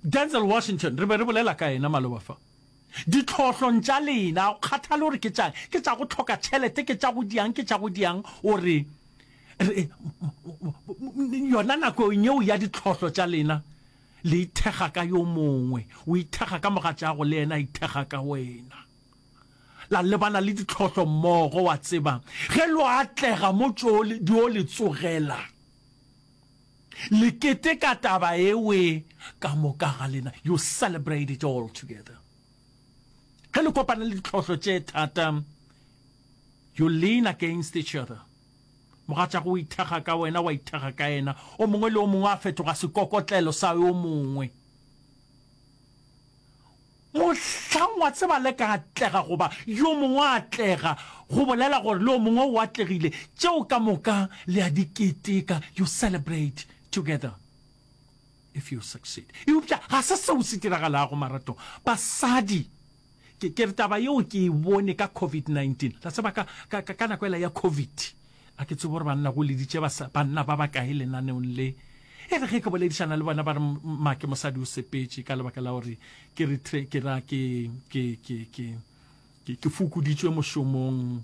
Denzel Washington, re be re bolela ka yena maloba fa. Ditlhohlong tša lena, o kgathale gore ke tša, ke tša go hloka tšhelete, ke tša go diang, ke tša go diang, o re, re, yona nakong yeo ya ditlhohlo tša lena, le ithekga ka yo mongwe, o ithekga ka mogatšago le yena a ithekga ka wena. La lebana le ditlhohlo mmogo, wa tseba, ge lo atlega mo tšo di o le tsogela, le keteka taba ewe ka moka ga lena. You celebrate it all together. Ge le kopana le ditlhohlo tše thata, you lean against each other. Mogatšago o ithekga ka wena, wa ithekga ka yena. O mongwe le o mongwe a fetoga sekokotlelo sa yo mongwe. Mohlang wa tseba le ka atlega goba yo mongwe a atlega, go bolela gore le o mongwe o atlegile, tšeo ka moka le a di keteka, you celebrate together if you succeed. Eupša ga se seo se diragalago maratong. Basadi, ke, ke re taba yeo ke e bone ka covid nineteen. La tseba ka, ka, ka, ka nako ela ya covid, a ke tsebe gore banna go leditše basa, banna ba bakae lenaneong le. E re ge ke boledišana le bona ba re, Make mosadi o sepetše ka lebaka la gore ke re tre, ke ra ke, ke, ke, ke, ke, ke fokoditšwe mošomong,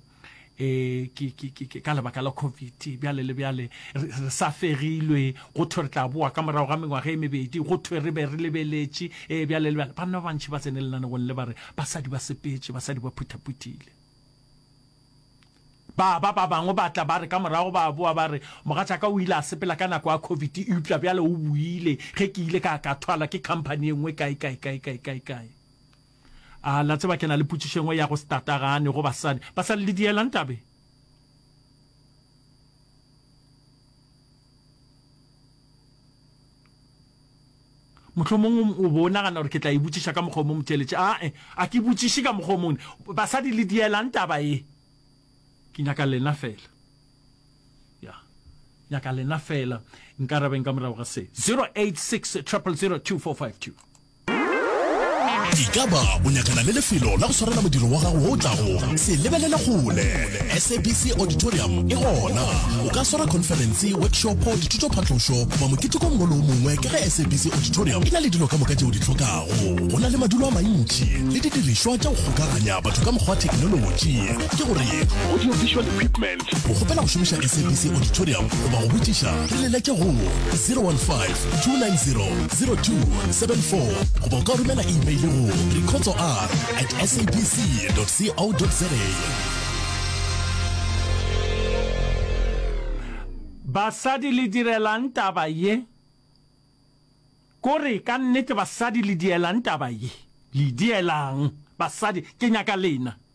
e, ke, ke, ke, ke, ka lebaka la covid, bjale le bjale, re, re sa fegilwe, go thwe re tla boa ka morago ga mengwaga e mebedi, go thwe re be re lebeletše, e, bjale le bjale. Banna ba bantši ba tsene lenaneong le ba re basadi ba sepetše, basadi ba phuthaphutile. Ba ba ba bangwe ba tla ba re ka morago ba boa ba re, Mogatšaka o ile a sepela ka nako ya covid, eupša bjale o boile ge ke ile ka ka thwalwa ke khamphani e nngwe kae kae kae kae kae kae. A la tseba ke na le potšišo e nngwe ya go se tatagane go basadi. Basadi le dielang tabe? Mohlomongwe o bo o nagana gore ke tla e botšiša ka mokgwa o mongwe motheeletši. Ae, a ke botšiše ka mokgwa o mongwe. Basadi le dielang taba ye? Ke nyaka lena fela. Ya. Nyaka lena fela. Nkarabeng ka morago ga se. zero eight six triple zero two four five two. Ekaba o nyakana le lefelo la go swarela modiro wa gago wo o tlago? Se lebelele kgole! SABC Auditorium e gona. O ka swara khonferense, workshopo, dithutophatlošo goba moketeko o mongwe le o mongwe ka ge SABC Auditorium e na le dilo ka moka tše o di hlokago. Go na le madulo a mantši le didirišwa tša go kgokaganya batho ka mokgwa wa theknolotši, ke gore audio-visual equipment. O kgopela go šomiša SABC Auditorium goba go botšiša, re leletše go zero one five, two nine zero, zero two seven four goba o ka romela email go rikhotsoR at sabc dot co dot za. Basadi le direlang taba ye? Kore ka nnete basadi le dielang taba ye? Le dielang? Basadi, ke nyaka lena.